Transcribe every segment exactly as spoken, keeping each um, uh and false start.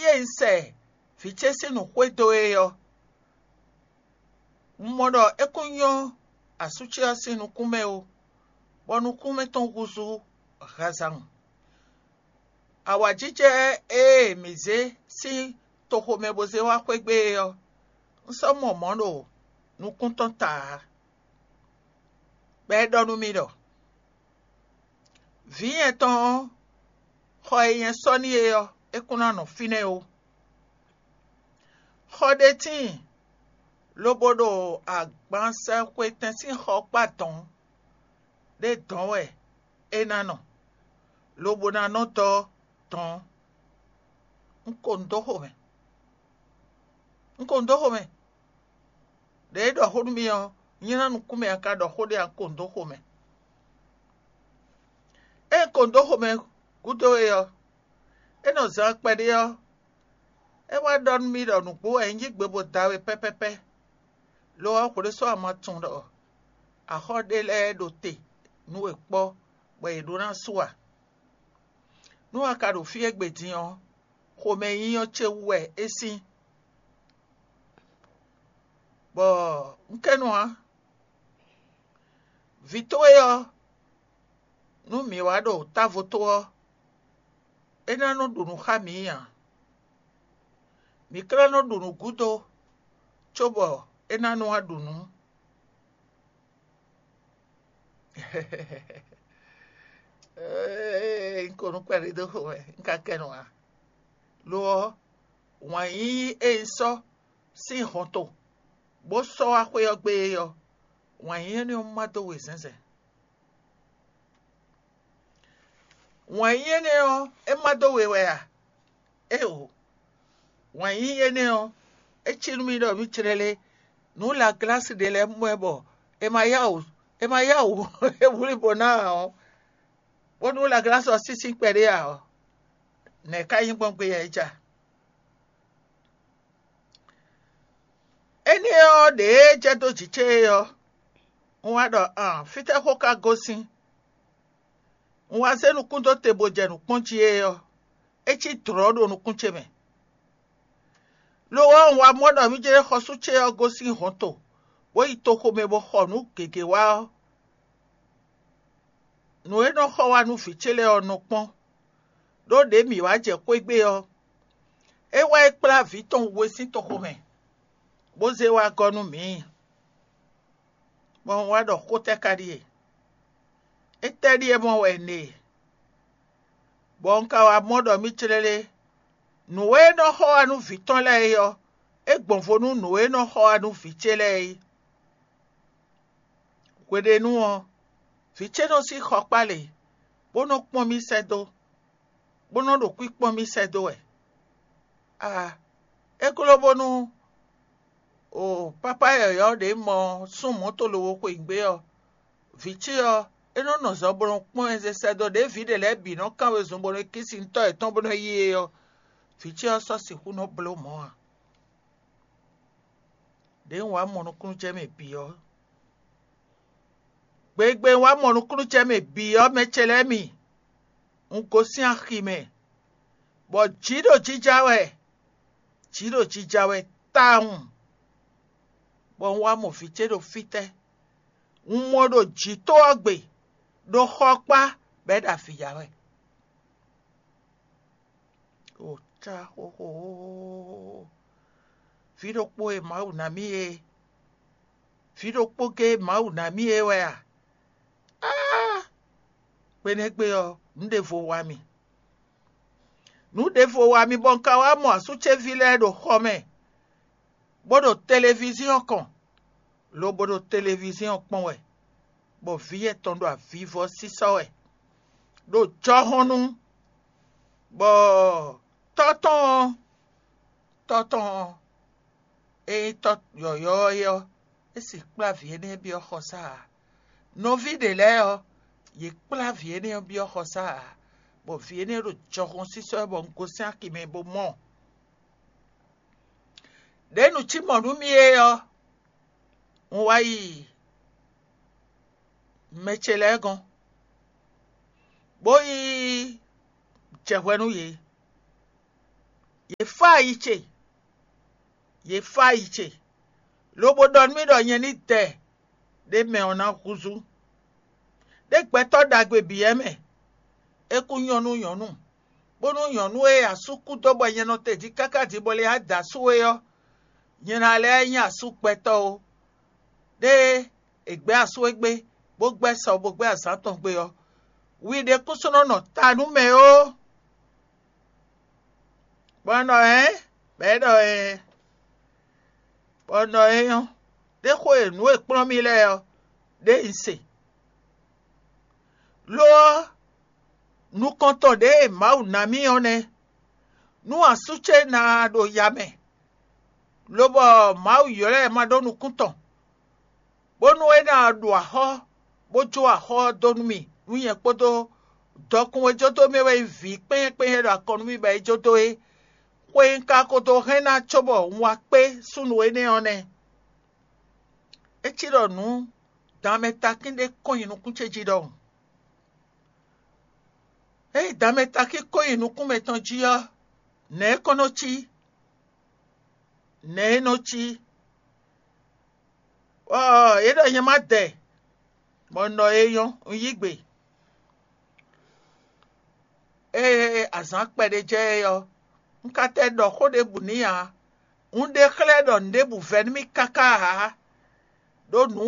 Ée un sɛ vǐ ce sín nǔ xwedó é ɔ́, un mɔ ɖɔ é kún nyɔ́ asú ce ɔ́ sín nukún mɛ ó, bɔ nukún mɛtɔn húzú hazan. Awǎjijɛ e mǐ zé sín toxo mɛ bó zé wá xwé gbe é ɔ́, un sɔ́ mɔ mɔ̌ ɖo nukún tɔn ta ǎ, bɔ é ɖɔ nú mì ɖɔ: "Vǐ nyɛ tɔn ɔ́, xɔ e nyɛ sɔ́ n'i é ɔ́, é kún ná nɔ fínɛ́ ó. Xɔ ɖé tíin, lobo ɖo agbansɛxwetɛn sín xɔkpá dɔ̌n ɖé dɔ̌n wɛ é ná nɔ, lobo ná nɔ dɔ́ dɔ̌n." Un ko nǔ dó xomɛ. Un ko nǔ dó xomɛ. Ɖě é ɖɔ xó nú mì ɔ́, nylá nukún mɛ a ka ɖɔ xó ɖé a un ko nǔ dó xomɛ. Ée un ko nǔ dó xomɛ gúdo é ɔ́, é nɔ zán kpɛɖé ɔ́, é wá ɖɔ nú mì ɖɔ nǔgbó wɛ un yí gbe bó da we pɛ́pɛ́pɛ́. Lo ɔ́, hwlé sɔ́ a ma tunwun ɖɔ axɔ́ ɖé lɛ́ɛ ɖo te nú we kpɔ́, bɔ yě ɖó ná su a? Nú a ka ɖo fí égbé din ɔ́, xomɛnyínyɔ́ ce wú wɛ é sín. Bɔ un kɛ nu ǎ. Vǐ towe ɔ́, nú mǐ wá ɖo távo tó ɔ́, é ná nɔ ɖu nǔ xá mǐ ǎ. Mǐ ka ná nɔ ɖu nǔ gúdo, cóbɔ é ná nɔ wá ɖu nǔ. Ee, un ko nú kpɛɖé dó xo wɛ, un ka kɛ nɔ ǎ. Lo ɔ́, wǎn yíyí e un sɔ́ sín hɔnto, bó sɔ́ wá xwé ɔ́ gbe é ɔ́, wǎn yíyí énɛ́ ɔ́ má dó we zɛ̌nzɛ̌n. Wǎn yíyí énɛ́ ɔ́, é má dó we wɛ a? Éeǒ! Wǎn yíyí énɛ́ ɔ́, é cí nú mì ɖɔ mǐ clɛ́ lé, nǔ laglási ɖé lɛ́ɛ mɔ ɛ bɔ è ma yá wǔ è ma yá wǔ é wlí bɔ ná ǎ ɔ́, bónú laglási ɔ́ sísí kpɛɖé ǎ ɔ́, nɛ̌ ká nyí gbɔn gbé yɛ é ja? Énɛ́ ɔ́ ɖě jɛ dó jǐ ce é ɔ́, un wá ɖɔ: "An, fítɛ́ xó ka gosín?" Un wá zé nukún dó te bó jɛ nǔ kpɔ́n jí é ɔ́, é cí dlɔ̌ ɖo nukún ce mɛ. Lo ɔ́, un wá mɔ ɖɔ mǐ jɛ xɔsú ce ɔ́ gosín hɔnto, bó yi toxo mɛ bó xɔ nǔ gěgé wá ɔ́, nǔ e nɔ xɔ wá nú vǐ ce lɛ́ɛ ɔ́ nɔ kpɔ́n, ɖó ɖě mǐ wá jɛ xwé gbe ɔ́, é wá yi kplá vǐ tɔn we sín toxo mɛ, bó zé wá gɔ́ nú mǐ. Bɔ un wá ɖɔ xó tɛ́ ka ɖíe? Étɛ́ ɖíe mɔ wɛ un ɖe? Bɔ un ka wá mɔ ɖɔ mì clɛ́ lé, nǔ e nɔ xɔ wá nú vǐ tɔn lɛ́ɛ é ɔ́, é gbɔn vo nú nǔ e nɔ xɔ wá nú vǐ ce lɛ́ɛ é. Hweɖénu ɔ́, vǐ ce nɔ sín xɔ kpá lě, bó nɔ́ kpɔ́n mì sɛ́ dó, bó nɔ́ ɖo kwíkpɔ́n mì sɛ́ dó wɛ. Aa, é gló bónú o pápá yɔ̌yɔ́ ɖě mɔ sún mɔ̌to lowo xweyǐgbe ɔ́, vǐ ce ɔ́, é nɔ́ nɔ zɔ bó nɔ́ kpɔ́n ɛ zé sɛ́ dó ɖěe vǐ ɖě lɛ́ɛ bǐ nɔ́ kán wezun bó nɔ́ kí sin tɔ́ yětɔn bó nɔ́ yí é ɔ́, vǐ ce ɔ́ sɔ́ sixú nɔ́ bló mɔ̌ ǎ. Ɖěe un wá mɔ nukúnnú jɛ mɛ bǐ ɔ́, gbegbe un wá mɔ nukúnnú jɛ mɛ bǐ ɔ́, mɛ ce lɛ́ɛ mi, un gosín axi mɛ, bɔ jǐ ɖo jija wɛ, jǐ ɖo jija wɛ tawun, bɔ un wá mɔ vǐ ce ɖo fítɛ́. Un mɔ ɖo jǐ tó ɔ́ gbe, ɖo xɔ kpá, bɔ é ɖo avǐ ya wɛ. O cá xóxó! Vǐ ɖokpó e Mawu ná mì é, vǐ ɖokpó géé Mawu ná mì é wɛ a? Áá! Kpenɛ́gbe ɔ́, nǔ ɖěvo wa mì. Nǔ ɖěvo wa mì bɔ un ka wá mɔ asú ce ví lɛ́ɛ ɖo xɔ mɛ, bó ɖo televíziɔ́n kɔn, lobo ɖo televíziɔ́n kpɔ́n wɛ, bɔ vǐ yɛtɔn ɖo avivɔ sísɔ́ wɛ, ɖo jɔhɔn nu, bɔ tɔ́ tɔn ɔ́, tɔ́ tɔn ɔ́, ényí tɔ́ yɔ̌yɔ́ ɔ́ é ɔ́, é si kplá vǐ énɛ́ byɔ́ xɔsá ǎ. Nɔví ɖě lɛ́ɛ ɔ́, yě kplá vǐ énɛ́ ɔ́ byɔ́ xɔsá ǎ, bɔ vǐ énɛ́ ɖo jɔhɔn sísɔ́ wɛ bɔ un gosín axi mɛ bó mɔ. Ɖě nǔ cí mɔ̌ nú mì é ɔ́, un wá yi mɛ ce lɛ́ɛ gɔ́n, bó yi jɛ hwɛ nú yě. Yě fá ayi ce, yě fá ayi ce, lobo ɖɔ nú mì ɖɔ nyɛ ní dɛ ɖé mɛ ɔ́ ná húzú. Ɖé gbɛtɔ́ ɖagbe bǐ wɛ mɛ, é kún nyɔ́ nú nyɔ̌nu, bónú nyɔ̌nu e asú kú dó bɔ nyɛ nɔ te jí káká din bɔ lě da asú é ɔ́, nyɛ ná lɛ́ nyí asú gbɛtɔ́ ó. Ɖé è gbɛ́ asú égbé, bó gbɛ́ sɔ, bó gbɛ́ azǎn tɔn gbe ɔ́, wi ɖé kúsúnɔ nɔ ta nú mɛ ó. Bɔ un ɖɔ hɛ̌n, bɔ é ɖɔ ɛɛ, bɔ un ɖɔ é nyɔ́, ɖé xó e nǔ e kplɔ́n mì lɛ́ɛ ɔ́, ɖé un se. Lo ɔ́, nukɔntɔn ɖě e Mawu ná mì ɔ́ nɛ́. Nú asú ce ná ɖo ya mɛ, lobɔ Mawu ylɔ́ ɛ ma ɖó nukún tɔn, bónú é ná ɖu axɔ́, bó jó axɔ́ ɔ́ dó nú mì, nú nyɛ kpódó dɔkun e jó dó mì wɛ nyí vǐ kpɛ́nyɛ́kpɛ́nyɛ́ ɖo akɔn nú mì bɔ é jó dó é. Xwe un ka ko dó hɛn ná cóbɔ un wá kpé súnnu énɛ́ ɔ́ nɛ́. É cí ɖɔ nǔ danmɛ takín ɖé kɔn nyi nukún ce jí ɖɔhun. Ényí danmɛ takín kɔn nyi nukún mɛtɔn jí ɔ́, nɛ̌ é kɔn nɔ cí? Nɛ̌ é nɔ cí? Ɔ́, é ɖɔ nyɛ má dɛ, bɔ un ɖɔ é nyɔ́, un yí gbe. Ée azǎn kpɛɖé jɛ é ɔ́, un ka tɛ ɖɔ xó ɖěbǔ n'i ǎ. Un ɖe xlɛ́ ɖɔ nǔɖébǔ vɛ́ nú mì káká ǎ, ɖó nǔ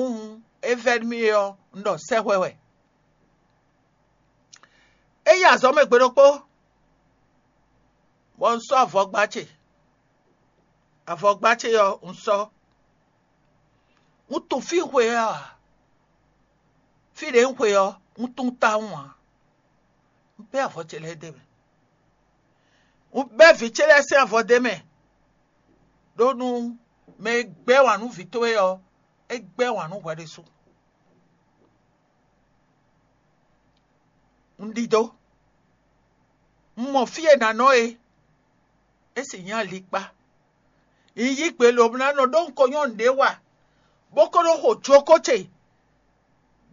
e vɛ́ nú mì é ɔ́, un ɖɔ sɛ́hwɛ wɛ. É yi azɔ̌ mɛ gbe ɖokpó, bɔ un sɔ́ avɔgba ce. Avɔgba ce ɔ́, un sɔ́. Un tunwun fí xwe ɔ́ ǎ. Fí ɖě un xwe ɔ́, un tunwun tawun ǎ. Un bɛ́ avɔ ce lɛ́ɛ d'é mɛ. Un bɛ́ vǐ ce lɛ́ɛ sín avɔ d'é mɛ, ɖó nú mɛ e gbɛ́ wǎn nú vǐ towe ɔ́, é gbɛ́ wǎn nú hwɛ ɖésú. Un ɖidó. Un mɔ fí e nǎ nɔ é, é sì nyí alikpá. Un yí gbe lobo ná nɔ ɖó un ko nyɔ́ nǔɖé wa, bó ko ɖó xo jokó ce,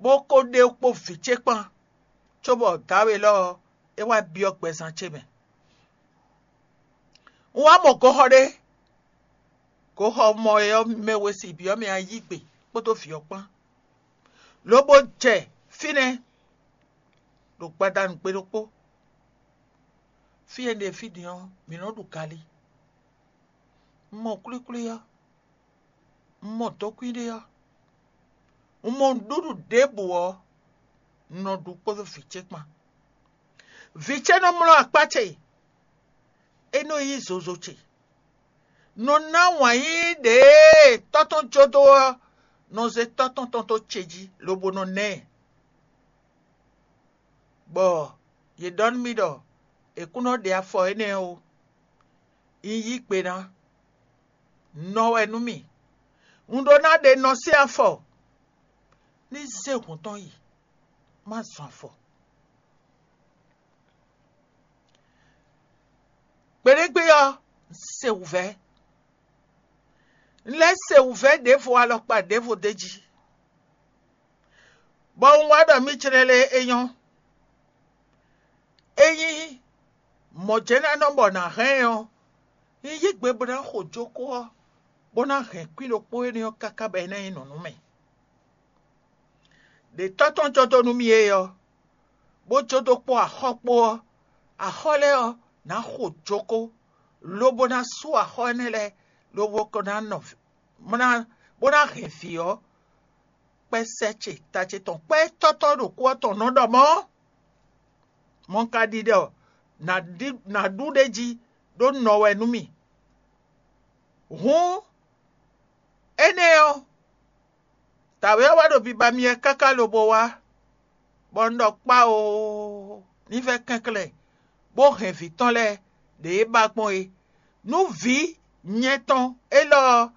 bó ko ɖe kpó vǐ ce kpán, cóbɔ dǎwe lɔ ɔ́, é wá byɔ́ gbɛzán ce mɛ. Un wá mɔ goxɔ ɖé, goxɔ mɔ e ɔ́ mɛ we si byɔ́ mɛ ayígbe kpódó vǐ ɔ́ kpán, lobo jɛ fínɛ́ ɖo gbadanu gbe ɖokpó. Fí e un ɖe fí din ɔ́, mǐ nɔ́ ɖu galí. Un mɔ kwlíkwlí ɔ́, un mɔ dɔkun ɖé ɔ́, un mɔ nǔɖuɖu ɖěbǔ ɔ́, un nɔ ɖu kpódó vǐ ce kpán. Vǐ ce nɔ mlɔ́ akpá ce, é nɔ yí zozo ce, nɔ ná wǎn yíyí ɖě e tɔ́ tɔn jó dó ɔ́, nɔ zé tɔ́ tɔn tɔn dó ce jí, lobo nɔ ná ɛ. Bɔ yě ɖɔ nú mì ɖɔ è kún nɔ ɖe afɔ énɛ́ ó. Un yí gbe ná, nɔ wɛ nú mì. Un ɖó ná ɖe nɔ sín afɔ, ní zé hǔn tɔn yi, má zɔn afɔ. Gbeɖégbé ɔ́, un se wǔvɛ́. Un lɛ́ se wǔvɛ́ ɖěvo alɔkpa ɖěvo d'é jí, bɔ un wá ɖɔ mì jlɛ́ lé é nyɔ́. Ényí mɔ̌ jɛ́n ná nɔ bɔ nǎ hɛn ɛ ɔ́, un yí gbe bó ná xo jókó ɔ́, bó ná hɛn kwín ɖokpó énɛ́ ɔ́ káká bɔ é ná nyí nǔ nú mì. Ɖě tɔ́ tɔn jɔ dó nú mì é ɔ́, bó jó dó kpó axɔ́ kpó ɔ́, axɔ́ lɛ́ɛ ɔ́, nǎ xo jókó, lobo ná sú axɔ́ énɛ́ lɛ́ɛ, lobo ko ná nɔ, bó ná, bó ná hɛn vǐ ɔ́, kpɛ́ sɛ́ ce ta ce tɔn kpɛ́ tɔ́tɔ́ ɖo kú ɔ́ tɔn nɔ ɖɔ mɔ̌. Mɔ̌ un ka ɖiɖɔ nǎ ɖu ɖ'é jí ɖó nɔ wɛ nú mì. Hǔn énɛ́ ɔ́, dǎwe ɔ́ wá ɖo biba myɛ káká lobo wá, bɔ un ɖɔ kpá oo, ní vɛ́ kɛnklɛ́n, bó hɛn vǐ tɔn lɛ́ɛ ɖě é ba gbɔn é. Nú vǐ nyɛ tɔn élɔ́ ɔ́,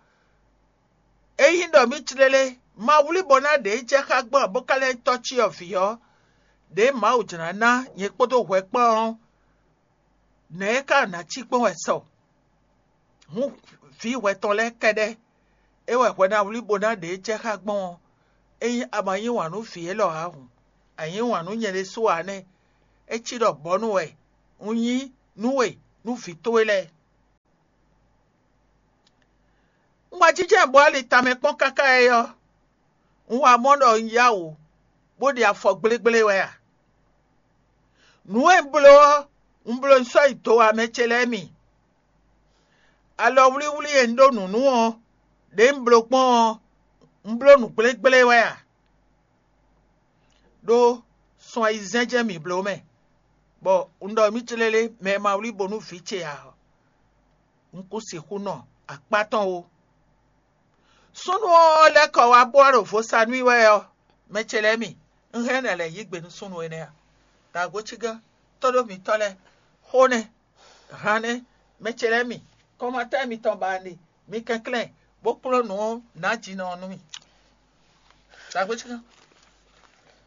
ényí ɖɔ mì tlélé, ma wlí bɔ ná ɖě jɛ xá gbɔn ǎ bó ka lɛ́ nyí tɔ́ cyɔ vǐ ɔ́, ɖě Mawu jlǎ ná nyɛ kpódó hwɛ kpán ɔ́, nɛ̌ é ka ná cí gbɔn wɛ sɔ? Hǔn vǐ hwɛ tɔn lɛ́ɛ kɛ́ɖɛ́, é wɛ hwɛ ná wlí bó ná ɖě jɛ xá gbɔn ɔ́, ényí a ma yí wǎn nú vǐ élɔ́ ǎ hǔn, a yǐ wǎn nú nyɛ ɖésú ǎ nɛ́. É cí ɖɔ bɔ̌nu wɛ un nyí nú we nú vǐ towe lɛ́ɛ. Wá jínjɔ́n bɔ ali tamɛ kpɔ́n káká é ɔ́, un wá mɔ ɖɔ un yá wǔ, bó ɖi afɔ gblégbléwɛ a? Nǔ e un bló ɔ́, un bló un sɔ́ yi do wá mɛ ce lɛ́ɛ mi. Alɔwlíwlí e un ɖó nǔ nú ɔ́, ɖě un bló gbɔn ɔ́, un bló nǔ gblégbléwɛ a? Ɖó sun ayizɛ́n jɛ́n mǐ bló mɛ, bɔ un ɖɔ émí célélé mɛ e ma wlí bo nú vǐ ce ǎ ɔ́, un kún sixú nɔ akpá tɔn ó. Súnnu ɔ́ lɛ́ kɔ wá bó wá ɖo vo sa nú i wɛ ɔ́, mɛ ce lɛ́ɛ mi, un hɛn nɛ lɛ̌ yí gbe nú súnnu énɛ́ a? Dǎgbócígán, tóɖó mǐtɔn lɛ́ɛ, xó nɛ́, han nɛ́, mɛ ce lɛ́ɛ mi, kɔnmatɛ́ mitɔn ba un ɖe, mi kɛnklɛ́n, bó kplɔ́n nǔ ɔ́ nǎjinɔ ɔ́ nú mì. Dǎgbócígán,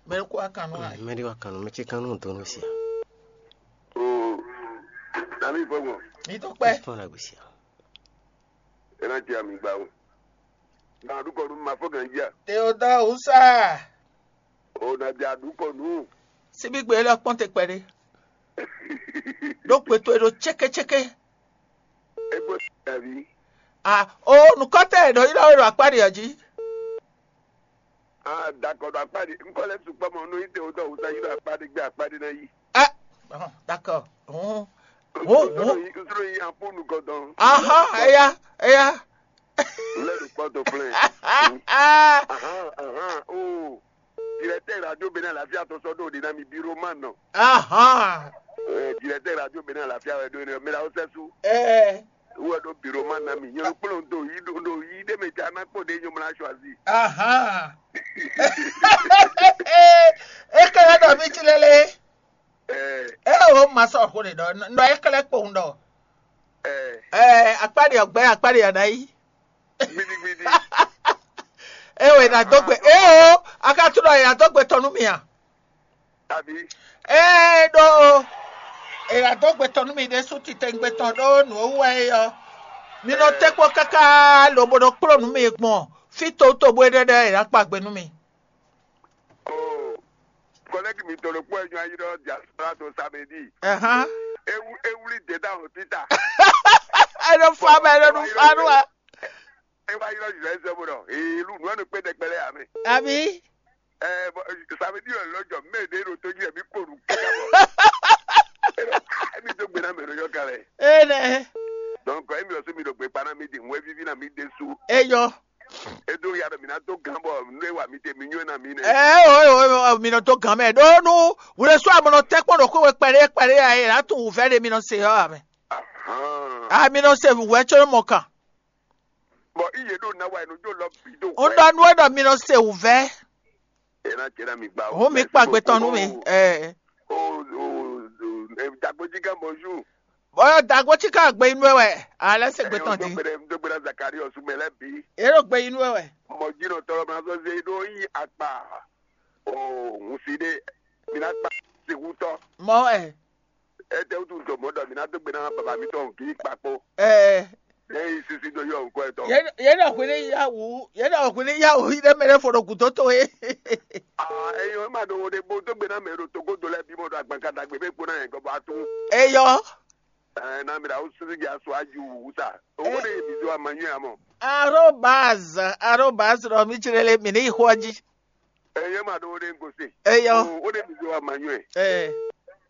mɛ ɖokpó wá kan nú a? Mɛ ɖé wá kan nú mɛ ce kan nú donu sia. Oo, nami fɔgbɔn. Mi tó kpɛ. Fɔn la gbèsè. Ena jẹ ami gba o. Na du kɔ nu ma fɔ gan jia. Teodoro Usa. O na ja du kɔ nu. Sibi gbe lɔ kpɔn te kpɛɖe. Ɖó kpe towe ɖo cékécéké. E ko davi. Ah, o nukɔtɛ ɖo yi ɖɔ ɖo akpa ɖe ɔ́ jí. Ah, d'accord, ɖo akpa ɖe. Nkɔ lɛ sukpɔ mɔ nu yi Teodoro Usa yi ɖo akpa ɖe gbe akpa ɖe na yi. Ah, oh, d'accord. Oh. Oh, oh. Nsoro yi nsoro yi apo nukɔ dɔn. Aha, eya, eya. Lɛ ɖo kpɔtɔ flɛ. Aha, aha, oh. Directeur radio Bénin Alafia tɔn sɔ ɖo ɖe na mi biro ma nɔ. Aha. Eh, directeur radio Bénin Alafia wɛ ɖo ne mira o sɛsu. Eh. Wɛ ɖo biro ma na mi. Nyɔnu kplɔn do yi do do yi ɖe me ja na kpɔ ɖe nyɔmla choisi. Aha. E kɛlɛ ɖɔ mi ci lele. Eh. E o ma sɔ xo ɖe ɖɔ nɔ e kɛlɛ kpowun ɖɔ. Eh. Eh, akpa ɖe ɔgbɛ akpa ɖe anayi. Gbidigbidi. E o e na dó gbe. E o, a ka tunɔ e na dó gbe tɔn nú mi a? Abi. Ee ɖo e na dó gbe tɔn nú mi ɖésú titewungbe tɔn ɖó nǔ e wú wɛ é ɔ́, mi nɔ tɛ́ kpɔ́ káká lobo nɔ kplɔ́n nǔ mi gbɔn fí towútowú bó é ɖɛ́ ɖɛ́ e ná kpa gbe nú mi. Oh, collègue mitɔn ɖokpó e nyɔ́ ayi ɖɔ diaspora to samedi. Ɛhán. Ewu ewuli deda o tita. E nɔ fa mɛ e nɔ nu fa nú wa. E wá yi lɔ juzɛ sɛ bo ɖɔ ee lu nu enu kpe ɖɛkpɛ lɛ ame. Abi. Ɛ bɔ samedi yɔ lɔ jɔ mɛ ɖe ɖo to jí ɛmi kpo nu kaka bɔ. Emi do gbe na mɛ ɖo yɔ kalɛ. Ee nɛ. Donc emi ɔsɔ mi ɖo gbe kpa na mi di ŋu evivi na mi ɖe su. Eyɔ. Edo ya ɖo mi na do gan bɔ nu e wa mi te mi nyɔ na mi nɛ. Ɛ o o o mi nɔ do gan mɛ ɖo nu wle sɔ amɔ nɔ tɛ kpɔn ɖo kó we kpɛɖe kpɛɖe ya e la tu wuvɛ ɖe mi nɔ se yɔ amɛ. Ahan. A mi nɔ se wuvɛ tso mɔ kan. Bɔ iye ɖo na wa enu jo lɔ bi do. Un ɖɔ nu e ɖɔ mi nɔ se wuvɛ. E na jɛ na mi gba. Ho mi kpa gbetɔ nu mi. Ɛ. O o o dagboji gan bonjour. Bɔyɔ dagbo tí ká gbe inú ɛ wɛ. Alẹ́ se gbetɔ di. Dogbe na Zakari ọsùn mẹlẹ bi. Èrò gbe inú ɛ wɛ. Mọ jìnnà tọrọ ma sọ se ɖo yí akpa. O ŋun si ɖe. Mi na kpa sehutɔ. Mɔ ɛ. Ete wutu ntɔ mɔ ɖɔ mi na dogbe na baba mi tɔ kì í kpakpo. Ɛ. Ne yi sisi do yɔ nkɔ etɔ. Yɛn yɛn ɖɔ hwele yawu yɛn ɖɔ hwele yawu yi ɖe mɛ ɖe fo ɖo gǔdo to ye. Ah, eyo ema ɖo wo ɖe bo dogbe na mɛ ɖo togodo lɛ bi mɔ ɖo agbankadagbe be kpo na yɛn gɔbɔ atu. Eyɔ. Ɛ na mi ɖa wo sisi dza so aju wu sa. Owó ɖe mi do ama nyuie amɔ. Arobaz arobaz ɖɔ mi tsirele mi ni xɔ dzi. Eye ma ɖo wo ɖe ŋgo se. Eyɔ. O wo ɖe mi do ama nyuie. Ɛ.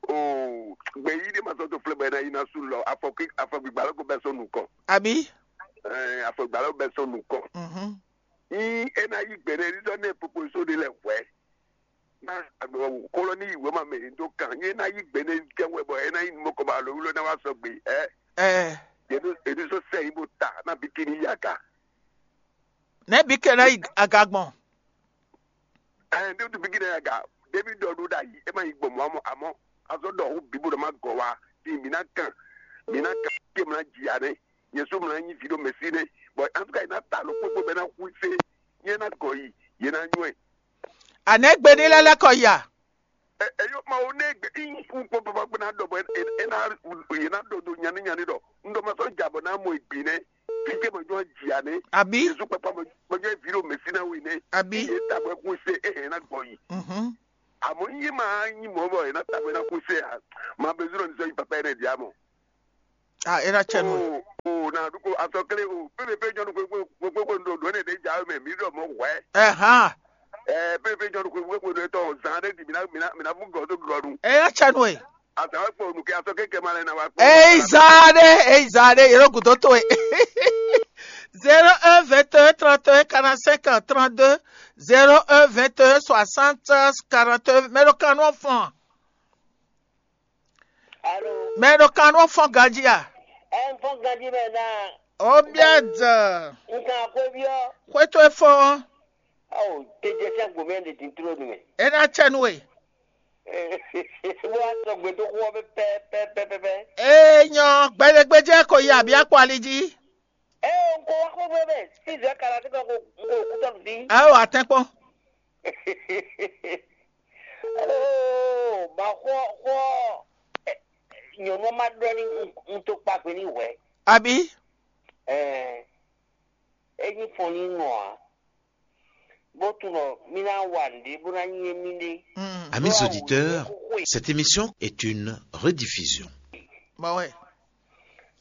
O gbe yi ɖe ma sɔ to flɛ bɛ na yi na su lɔ afɔ kí afɔ gbigba lɔ ko bɛ sɔ nukɔ. Abi. Ɛ afɔ gbigba lɔ bɛ sɔ nukɔ. Mhm. Yi e na yi gbe ne ɖiɖɔ ne popo so ɖe lɛ hwɛ. Na agbe wa wu kolo ni yi wema mɛ ni do kan. Yi e na yi gbe ne jɛ wɛ bɔ e na yi mɔ kɔ ba lo wlo na wa sɔ gbe. Ɛ. Ɛ. Yedu yedu so sɛ yi bo ta na bi kini ya ka. Ne bi ke na yi aga gbɔn. Ɛɛ, ne du bigi ne ya ga. David dɔ ɖo ɖa yi e ma yi gbɔn mɔ amɔ amɔ. Azɔ dɔ wu bibo dɔ ma gɔ wa. Ti mi na kan. Mi na kan ke mla dzi ya ne. Yesu mla nyi vi ɖo mɛsi ne. Bɔn antuka yi na ta lo kpokpo bɛ na hu se. Ye na gɔ yi. Ye na nyɔɛ. Anɛ gbe ni lɛ lɛ kɔ ya. Eyo ma wo ne gbe in un kpɔ papa gbe na dɔ bɔ e na ye na dɔ do nyani nyani dɔ n dɔ ma sɔ ja bɔ na mɔ egbe nɛ fi ke ma jɔ jia ne. Abi. Yesu papa ma jɔ vi ɖo mesi na wi ne. Abi. Ye ta bɔ kun se e hɛn na gbɔ yi. Mhm. Amɔ ye ma nyi mɔ bɔ ye na ta bɔ na kun se a ma bɛ zuro nisɔn yi papa yɛ ne di amɔ. Ah, e na cɛ nu. O o na du ko Asɔkle o, pépépé nyɔnu xwéxwé xwéxwé ɖo ɖǒ ne ɖě ja mɛ mǐ ɖɔ mɔ hwɛ̌. Ɛhán. Ɛ pépépé nyɔnu xwéxwé ɖo tɔ zan ɖé di mǐ ná mǐ ná mǐ ná bú gɔ̌ dó glɔ nu. Eya cɛ nu e. Azan wɛ kpɔ nu kɛ asɔ kéke ma lɛ na wa kpɔ. Eyi zan ɖé, eyi zan ɖé, yɛlɛ gǔdo towe. Zéro un vingt et un trente et un quarante-cinq trente-deux, zéro un vingt et un soixante quarante-deux. Mɛ ɖo kan nɔ fɔn. Alo. Mɛ ɖo kan nɔ fɔn ganjí a? Ɛ ń fɔn ganjí mɛ náà. Ó bíá dàn. Nǹkan àkóbíọ́. Xwétó e fɔn. Awo tejɛ sɛn gbomɛ ɖe din tló nu mɛ. É ná cɛ nú we. Bó wá sɔ gbɛdó xó ɔ́ pɛpɛpɛpɛpɛ. Ee nyɔ, gbɛɖegbejɛ ko yi abí akpɔ ali jí. Ee, n ko wá xó gbé mɛ, fíìsì ɔ́ ka ná dé kɔ ko n ko kú tɔnu bí. Awo atɛnkpɔn. Oo, ma xɔ xɔ nyɔnu ɔ́ ma ɖɔ ní un tó kpa gbe ní hwɛ. Abí? Ɛɛ, é nyí fɔn ní nɔ ǎ. Bó tunɔ mí ná wa nǔɖé bó ná nyí émí ɖé. Amis auditeurs, cette émission est une rediffusion. Bɔ wɛ.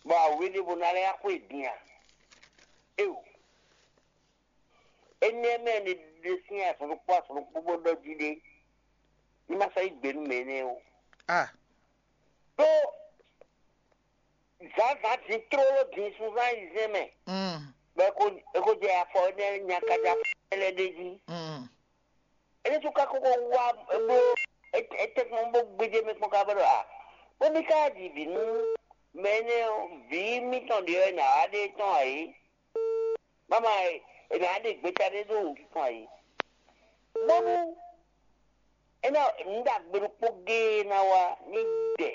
Bɔ awě ɖěvo ná lɛ́ yá xwé din a? Éo. Énɛ́ mɛ ni ɖe sín azɔn ɖokpó azɔn ɖokpó bó ɖɔ jí ɖé. Ní ma sɔ́ yí gbe nú mɛ énɛ́ ó. Ah. Ɖó zǎnzǎn din tlóló din sunzán ayizɛ́n mɛ, mm, bɔ é ko é ko jɛ afɔ énɛ́ nyakaja lɛ́ɛ ɖ'é jí. Mm. É ɖésú ka kókó wá bló étɛ́kpɔ́n bó gbéjé mɛ kpɔ́n ká bɔ ɖɔ a, bó ní ká ɖi vǐ nú mɛ énɛ́ ɔ́, vǐ mitɔn ɖě ɔ́ è nǎ wá ɖe tɔn ǎ é. Mama e, è nǎ ɖe gbeta ɖé ɖó wǔtútɔn ayǐ. Bónú é ná nǔ ɖagbe ɖokpó géé ná wá ní dɛ.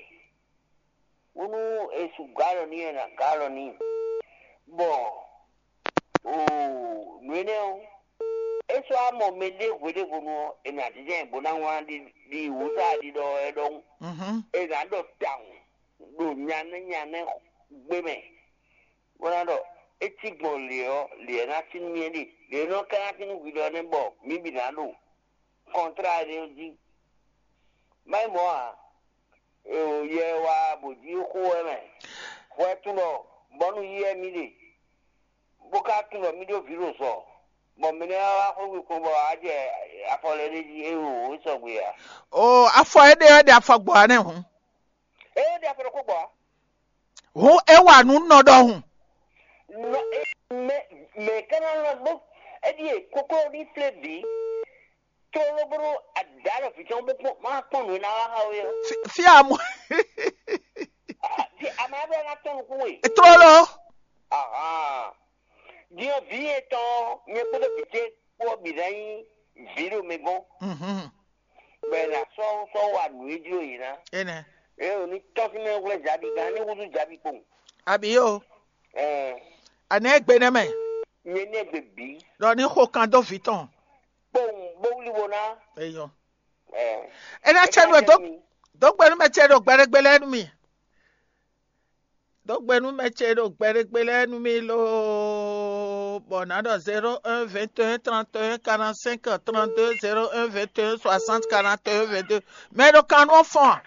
Bónú è su gǎ alɔ n'i wɛ è nǎ gǎ alɔ n'i. Bɔ oo nǔ énɛ́ ɔ́, é sɔ́ wá mɔ mɛɖé hweɖěvonu ɔ́, è nǎ jínjɔ́n ɛ bó ná wlán ɖi ɖi wǔ sa ɖiɖɔ ɛ ɖɔhun. Mhm. È nǎ ɖɔ tawun ɖo nyanɛ́ nyanɛ́ gbé mɛ, bó ná ɖɔ é cí gbɔn lě ɔ́, lě ɔ́ ná cí nú mì é ɖe. Lě e nɔ ka ná cí nú hwi ɖɔ nɛ́ bɔ mǐ bǐ ná ɖo kɔntrá énɛ́ jí. Má nyí mɔ̌ ǎ, yɛ wá bǒ jí xó wɛ mɛ. Hwɛ tunɔ bɔnu yí wɛ mì ɖe, bó ka tunɔ mì ɖó vǐ ɖo zɔ, bɔ mɛ nɛ́ wá xwé kpɔn bɔ á jɛ afɔ lɛ́ɛ ɖ'é jí, é wo wǒ sɔgbe ǎ. O afɔ éɖée wɛ ɖe afɔ gbɔ ǎ nɛ́ hǔn. É ɖe afɔ ɖokpó gbɔ ǎ. Hǔn é wa nǔ nɔ ɖɔhun. Nɔ é mɛ mɛ ka ná lɔ bó é ɖíe kókó ní flé bǐ. Tlóló bónú adǎ ɖɔ vǐ tɔn bó kpɔ́n má kpɔ́n nǔ e ná wá xá we ɔ́. Fí amɔ. Fi amɛ ɔ́ bɛ́ ná tɔ́n nukún we. Tlóló. Din ɔ́ vǐ etɔn ɔ́, nyɛ kpódó vǐ ce kpó ɔ́ bǐ ná nyí vǐ ɖo mɛ gɔ́n. Mhm. Bɔ è nǎ sɔ́ sɔ́ wa nǔ e jló yě ná. Énɛ́. É ò ní tɔ́n sín mɛ hwlɛ́n Jabi gán ní húzú Jabi kpowun. Abi yo. Ɛɛ. Anɛ gbe nɛ mɛ. Nyɛ ní ɛgbɛ bǐ. Ɖɔ ní xo kan dó vǐ tɔn. Kpowun bó wlí wo ná. Eyɔ. Ɛɛ. Ena cɛ nu dó dó gbɛnu mɛ cɛ ɖo gbɛɖegbe lɛ nu mi. Dó gbɛnu mɛ cɛ ɖo gbɛɖegbe lɛ nu mi lo. Bɔ na ɖɔ zéro un vingt et un trente et un quarante-cinq trente-deux, zéro un vingt et un soixante quarante et un vingt-deux. Mɛ ɖo kan nɔ fɔn.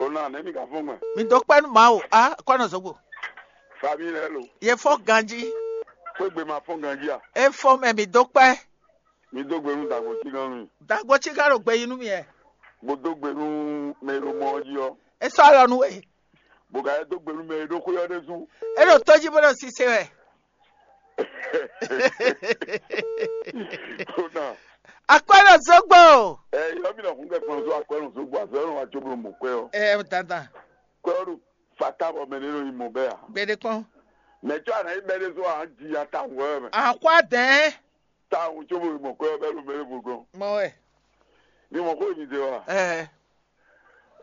O na ne mi ka fɔn gbɛ. Mi dó kpɛ nu ma o a kɔ nɔ zogbo. Fami lɛ lo. Ye fɔ ganji. Fo gbe ma fɔn ganji a. E fɔ mɛ mi dó kpɛ. Mi dó gbe nu dagbo ti gan mi. Dagbo ti gan ɖo gbe yi nu mi yɛ. Bo dó gbe nu mɛ e ɖo mɔ ɔ́ jí ɔ́. E sɔ alɔ nu we. Bo ka yɛ dó gbe nu mɛ e ɖo xwé ɔ́ ɖésú. E ɖo tó jí bó ɖo sise wɛ. Kódà. Akwɛ́ ɖo zogbo. Ɛ yɔ mi nɔ kun kɛ kplɔn so akwɛ́ nɔ zogbo azɔ nɔ wa tso bolo mɔ kwɛ ɔ. Ɛ dandan. Kwɛ ɔ ɖo fata bɔ mɛ ne nɔ yi mɔ bɛ a. Gbede kpɔn. Mɛ tsɔ ana yi bɛ de so a ji ya ta wɔ mɛ. Akwa dɛn. Ta wɔ tso bolo mɔ kwɛ ɔ bɛ lo mɛ ne bo gɔn. Mɔ wɛ. Ni mɔ ko mi de wa. Ɛ.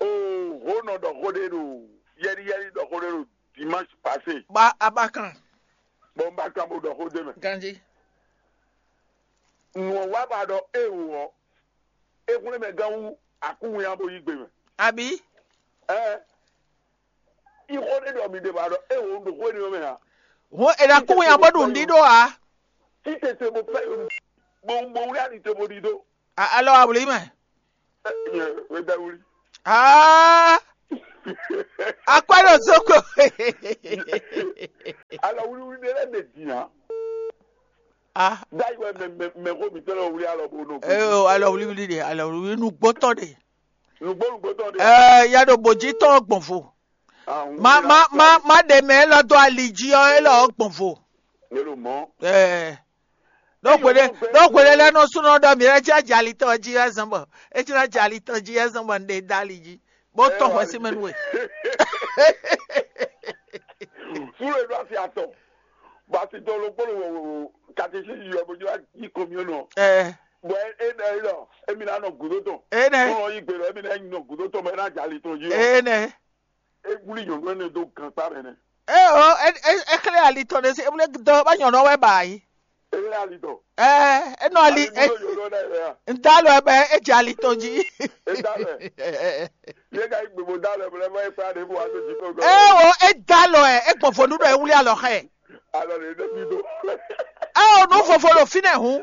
Oo ho nɔ ɖɔ xó ɖé ɖo yɛliyɛli ɖɔ xó ɖé ɖo dimanche passé. Ba abakan. Bɔn un ba kan bo ɖɔ xó ɖé mɛ. Ganji. Nǔ ɔ́ wá ba ɖɔ éewo ɔ́, é hwlɛ́n mɛ gán wú akúnwun ya bo yí gbe mɛ. Abi. Ɛɛ. Ixo ɖé ɖɔ mi ɖe ba ɖɔ éewo un ɖo xó énɛ́ mɛ ǎ. Hɔn è ɖo akúnwun ya bó ɖu nǔɖíɖó ǎ. Títete bo fẹ́ bo bo wlí ali te bo ɖi dó. Alɔ awlí mɛ. Ɛ, nyɛ wɛ da wuli. Aa. Akwɛ́ ɖo zokpo. Alɔ wlíwlí ɖé lɛ́ɛ ɖe din ǎ. Ah, Ɖ'ayǐ wɛ mɛ mɛ mɛ xó mǐtɔn lɛ́ɛ wlí alɔ bó nɔ. Ee, alɔ wlíwlí ɖe, alɔ wlíwlí nǔgbó tɔn ɖe. Nǔgbó nǔgbó tɔn ɖe. Ee, ya ɖo bǒjí tɔn gbɔn vo. Ah, má má má má ɖe mɛ élɔ́ dó ali jí ɔ́, élɔ́ ɔ́ gbɔn vo. Mɛ ɖo mɔ̌. Ee. Ɖó hweɖé ɖó hweɖé lɛ́ɛ nɔ súnɔ ɖɔ mǐ lɛ́ cí ajali tɔn jí wɛ zɔn bɔ é cí ná jali tɔn jí wɛ zɔn bɔ un ɖe dó ali jí bó tɔn hwɛsí mɛ nú we. Súnnu e ɖo asi atɔn, bɔ asi tɔn ɖokpó ɖo katesísi yɔ bó jlá yí kɔmyɔnɔ. Ɛ Bɔ é ɖɔ é ɖɔ émi ná nɔ gǔdo tɔn. Énɛ́. Súnnu ɔ́ yí gbe ɖɔ émi ná nɔ gǔdo tɔn bɔ é ná jɛ ali tɔn jí ɔ́. Énɛ́. É wlí nyɔ̌nu énɛ́ dó gankpá mɛ nɛ́. É o é é é xlɛ́ ali tɔn ɖé sí é wlé dɔ bá nyɔ̌nu ɔ́ wɛ ba yí. É lɛ́ ali tɔn. Ɛ é nɔ ali Ali é dó nyɔ̌nu ɔ́ ɖ'ayǐ wɛ a? Ŋdálɔ ɛ bɛ é jɛ ali tɔn jí. É dá lɛ. Yé ka yí gbogbo dá lɛ bɔ lɛ bɔ é kpá ɖě bó wá dó jí kó gɔ́. É o é dálɔ ɛ é gbɔn vo nú ɖɔ é wlí alɔ xɛ. Alɔ ɖě ɖe bí dó. É o nú vovo ɖo fínɛ́ hǔn.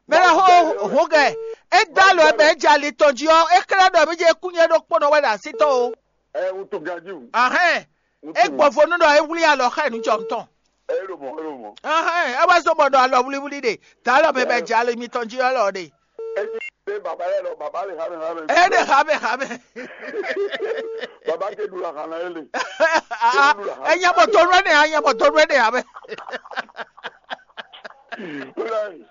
Mɛ lɛ xó hǔn gɛ. É dálɔ ɛ bɛ é jɛ ali tɔn jí ɔ́ é xlɛ́ ɖɔ mí jɛ kúnyɛ ɖokpónɔ wɛ ɖo así tɔn o. Ɛ wutu ganjí wù. Ahɛn. É gbɔn vo nú ɖɔ é wlí alɔ xá ɛ nú jɔ tɔn. É ɖo mɔ̌ é ɖo mɔ̌. Ahɛn é wá zɔ́n bɔ ɖɔ alɔ wlíwlí ɖe. Dǎ alɔ mɛ bɛ jɛ alɔ mitɔn jí ɔ́ lɔ ɖe. É jí pé bàbá yɛ lɔ bàbá lè xá mɛ xá mɛ. É ɖe xá mɛ xá mɛ. Bàbá ké ɖu la xá ná é lè. Enya bɔ tó nú ɛnɛ anya bɔ tó nú ɛnɛ amɛ. Ó lɛ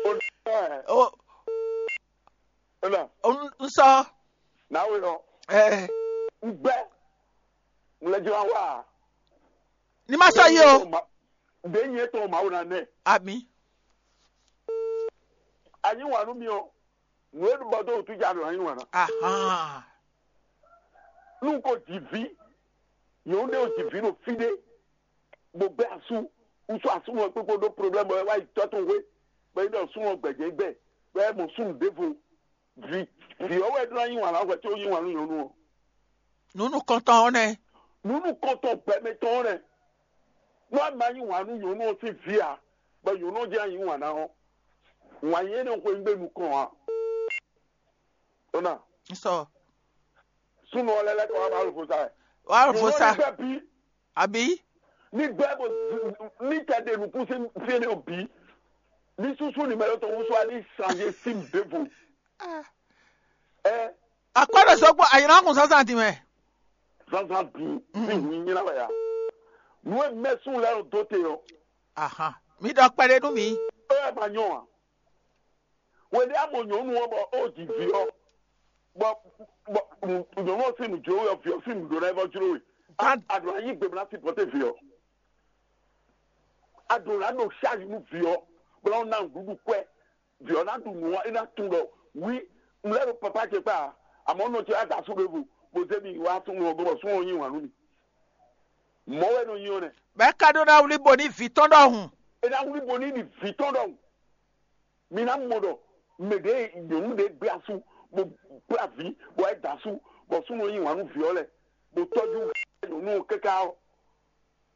ó lɛ. O Ó lɛ. N sɔ. Náwó lɔ. Ɛ Ń gbɛ. Ń lɛ jɔ wá. Ní má sɔ yí o. Ɖe nyɛ tɔn Mawu na nɛ. Ami. Anyi wà nú mi ɔ. Nù é bɔ dó wútu ja ɖo anyi wà ná. Ahan. Nú ko jì ví. Yòó ɖe o jì ví ɖo fí ɖé. Bó gbɛ asú. Wúsú asú wọn kpékpó ɖó problème bɔ é wá yi tɔ́ tɔn hwé. Bɔ é ɖɔ sú wọn gbɛjɛ gbɛ. Bɔ é mɔ súnnu ɖěvo. Vǐ vǐ ɔ́ wɛ ɖó ná yí wǎn ná hwɛ có yí wǎn nú nyɔ̌nu ɔ́. Nǔ nukɔntɔn ɔ́ nɛ́. Nǔ nukɔntɔn gbɛmɛ tɔn ɔ́ nɛ́. Nú a ma yí wǎn nú nyɔ̌nu ɔ́ sín vǐ ǎ, bɔ nyɔ̌nu ɔ́ jlá yí wǎn ná ɔ́, wǎn yí énɛ́ xweyígbe nukɔn ǎ. Ó ná N sɔ. Súnnu ɔ́ lɛ́ lɛ́ kɔ wá Mawu fó sa wɛ. Wá fó sa. Nyɔ̌nu ɔ́ ní gbɛ́ bí. Àbí? Ní gbɛ́ bɔ ní tɛ ɖe nǔkún sín fí énɛ́ ɔ́ bǐ. Ní súsú ní mɛ lɔ tɔn wúsú wá ní sanjé sín ɖěvo. Ɛ Akwɛ́ ɖo sɔkpɔ ayǐ ná kun zǎnzǎn din mɛ. Zǎnzǎn din sín hun nyínyá wɛ ya. Nǔ e mɛ súnnu lɛ́ɛ nɔ dó te ɔ́, Ahan. Mi ɖɔ kpɛɖé nú mì. É wɛ ma nyɔ ǎ. Hweɖé a mɔ nyɔ̌nu ɔ́ bɔ ó ji vǐ ɔ́, bɔ bɔ nyɔ̌nu ɔ́ sín nǔ jló we ɔ́, vǐ ɔ́ sín nǔ ɖó ná é vɔ jló we. A a ɖǒ ná yí gbe bó ná sipɔ́té vǐ ɔ́. A ɖǒ ná ɖo ṣáàjì nú vǐ ɔ́, bó ná ná nǔɖuɖu kwɛ́. Vǐ ɔ́ ná ɖu nǔ ɔ́, é ná tunwun ɖɔ wí un lɛ́ ɖo papá ce kpá ǎ, amɔ̌ nɔ ce wá da asú ɖěvo, bó zé mi wá súnnu ɔ́ gɔ́ bɔ súnnu ɔ́ yí wǎn nú mi. Mɔ̌ wɛ nɔ nyi ɔ́ nɛ́. Bɔ é ka ɖó ná wlí bo ní vǐ tɔn ɖɔhun. É ná wlí bo ní ɖi vǐ tɔn ɖɔhun. Mi ná mɔ ɖɔ mɛ ɖě nyɔ̌nu ɖě gbé asú, bó kplá vǐ, bɔ é da asú, bɔ súnnu ɔ́ yí wǎn nú vǐ ɔ́ lɛ́ɛ, bó tɔ́jú nyɔ̌nu ɔ́ káká ɔ́,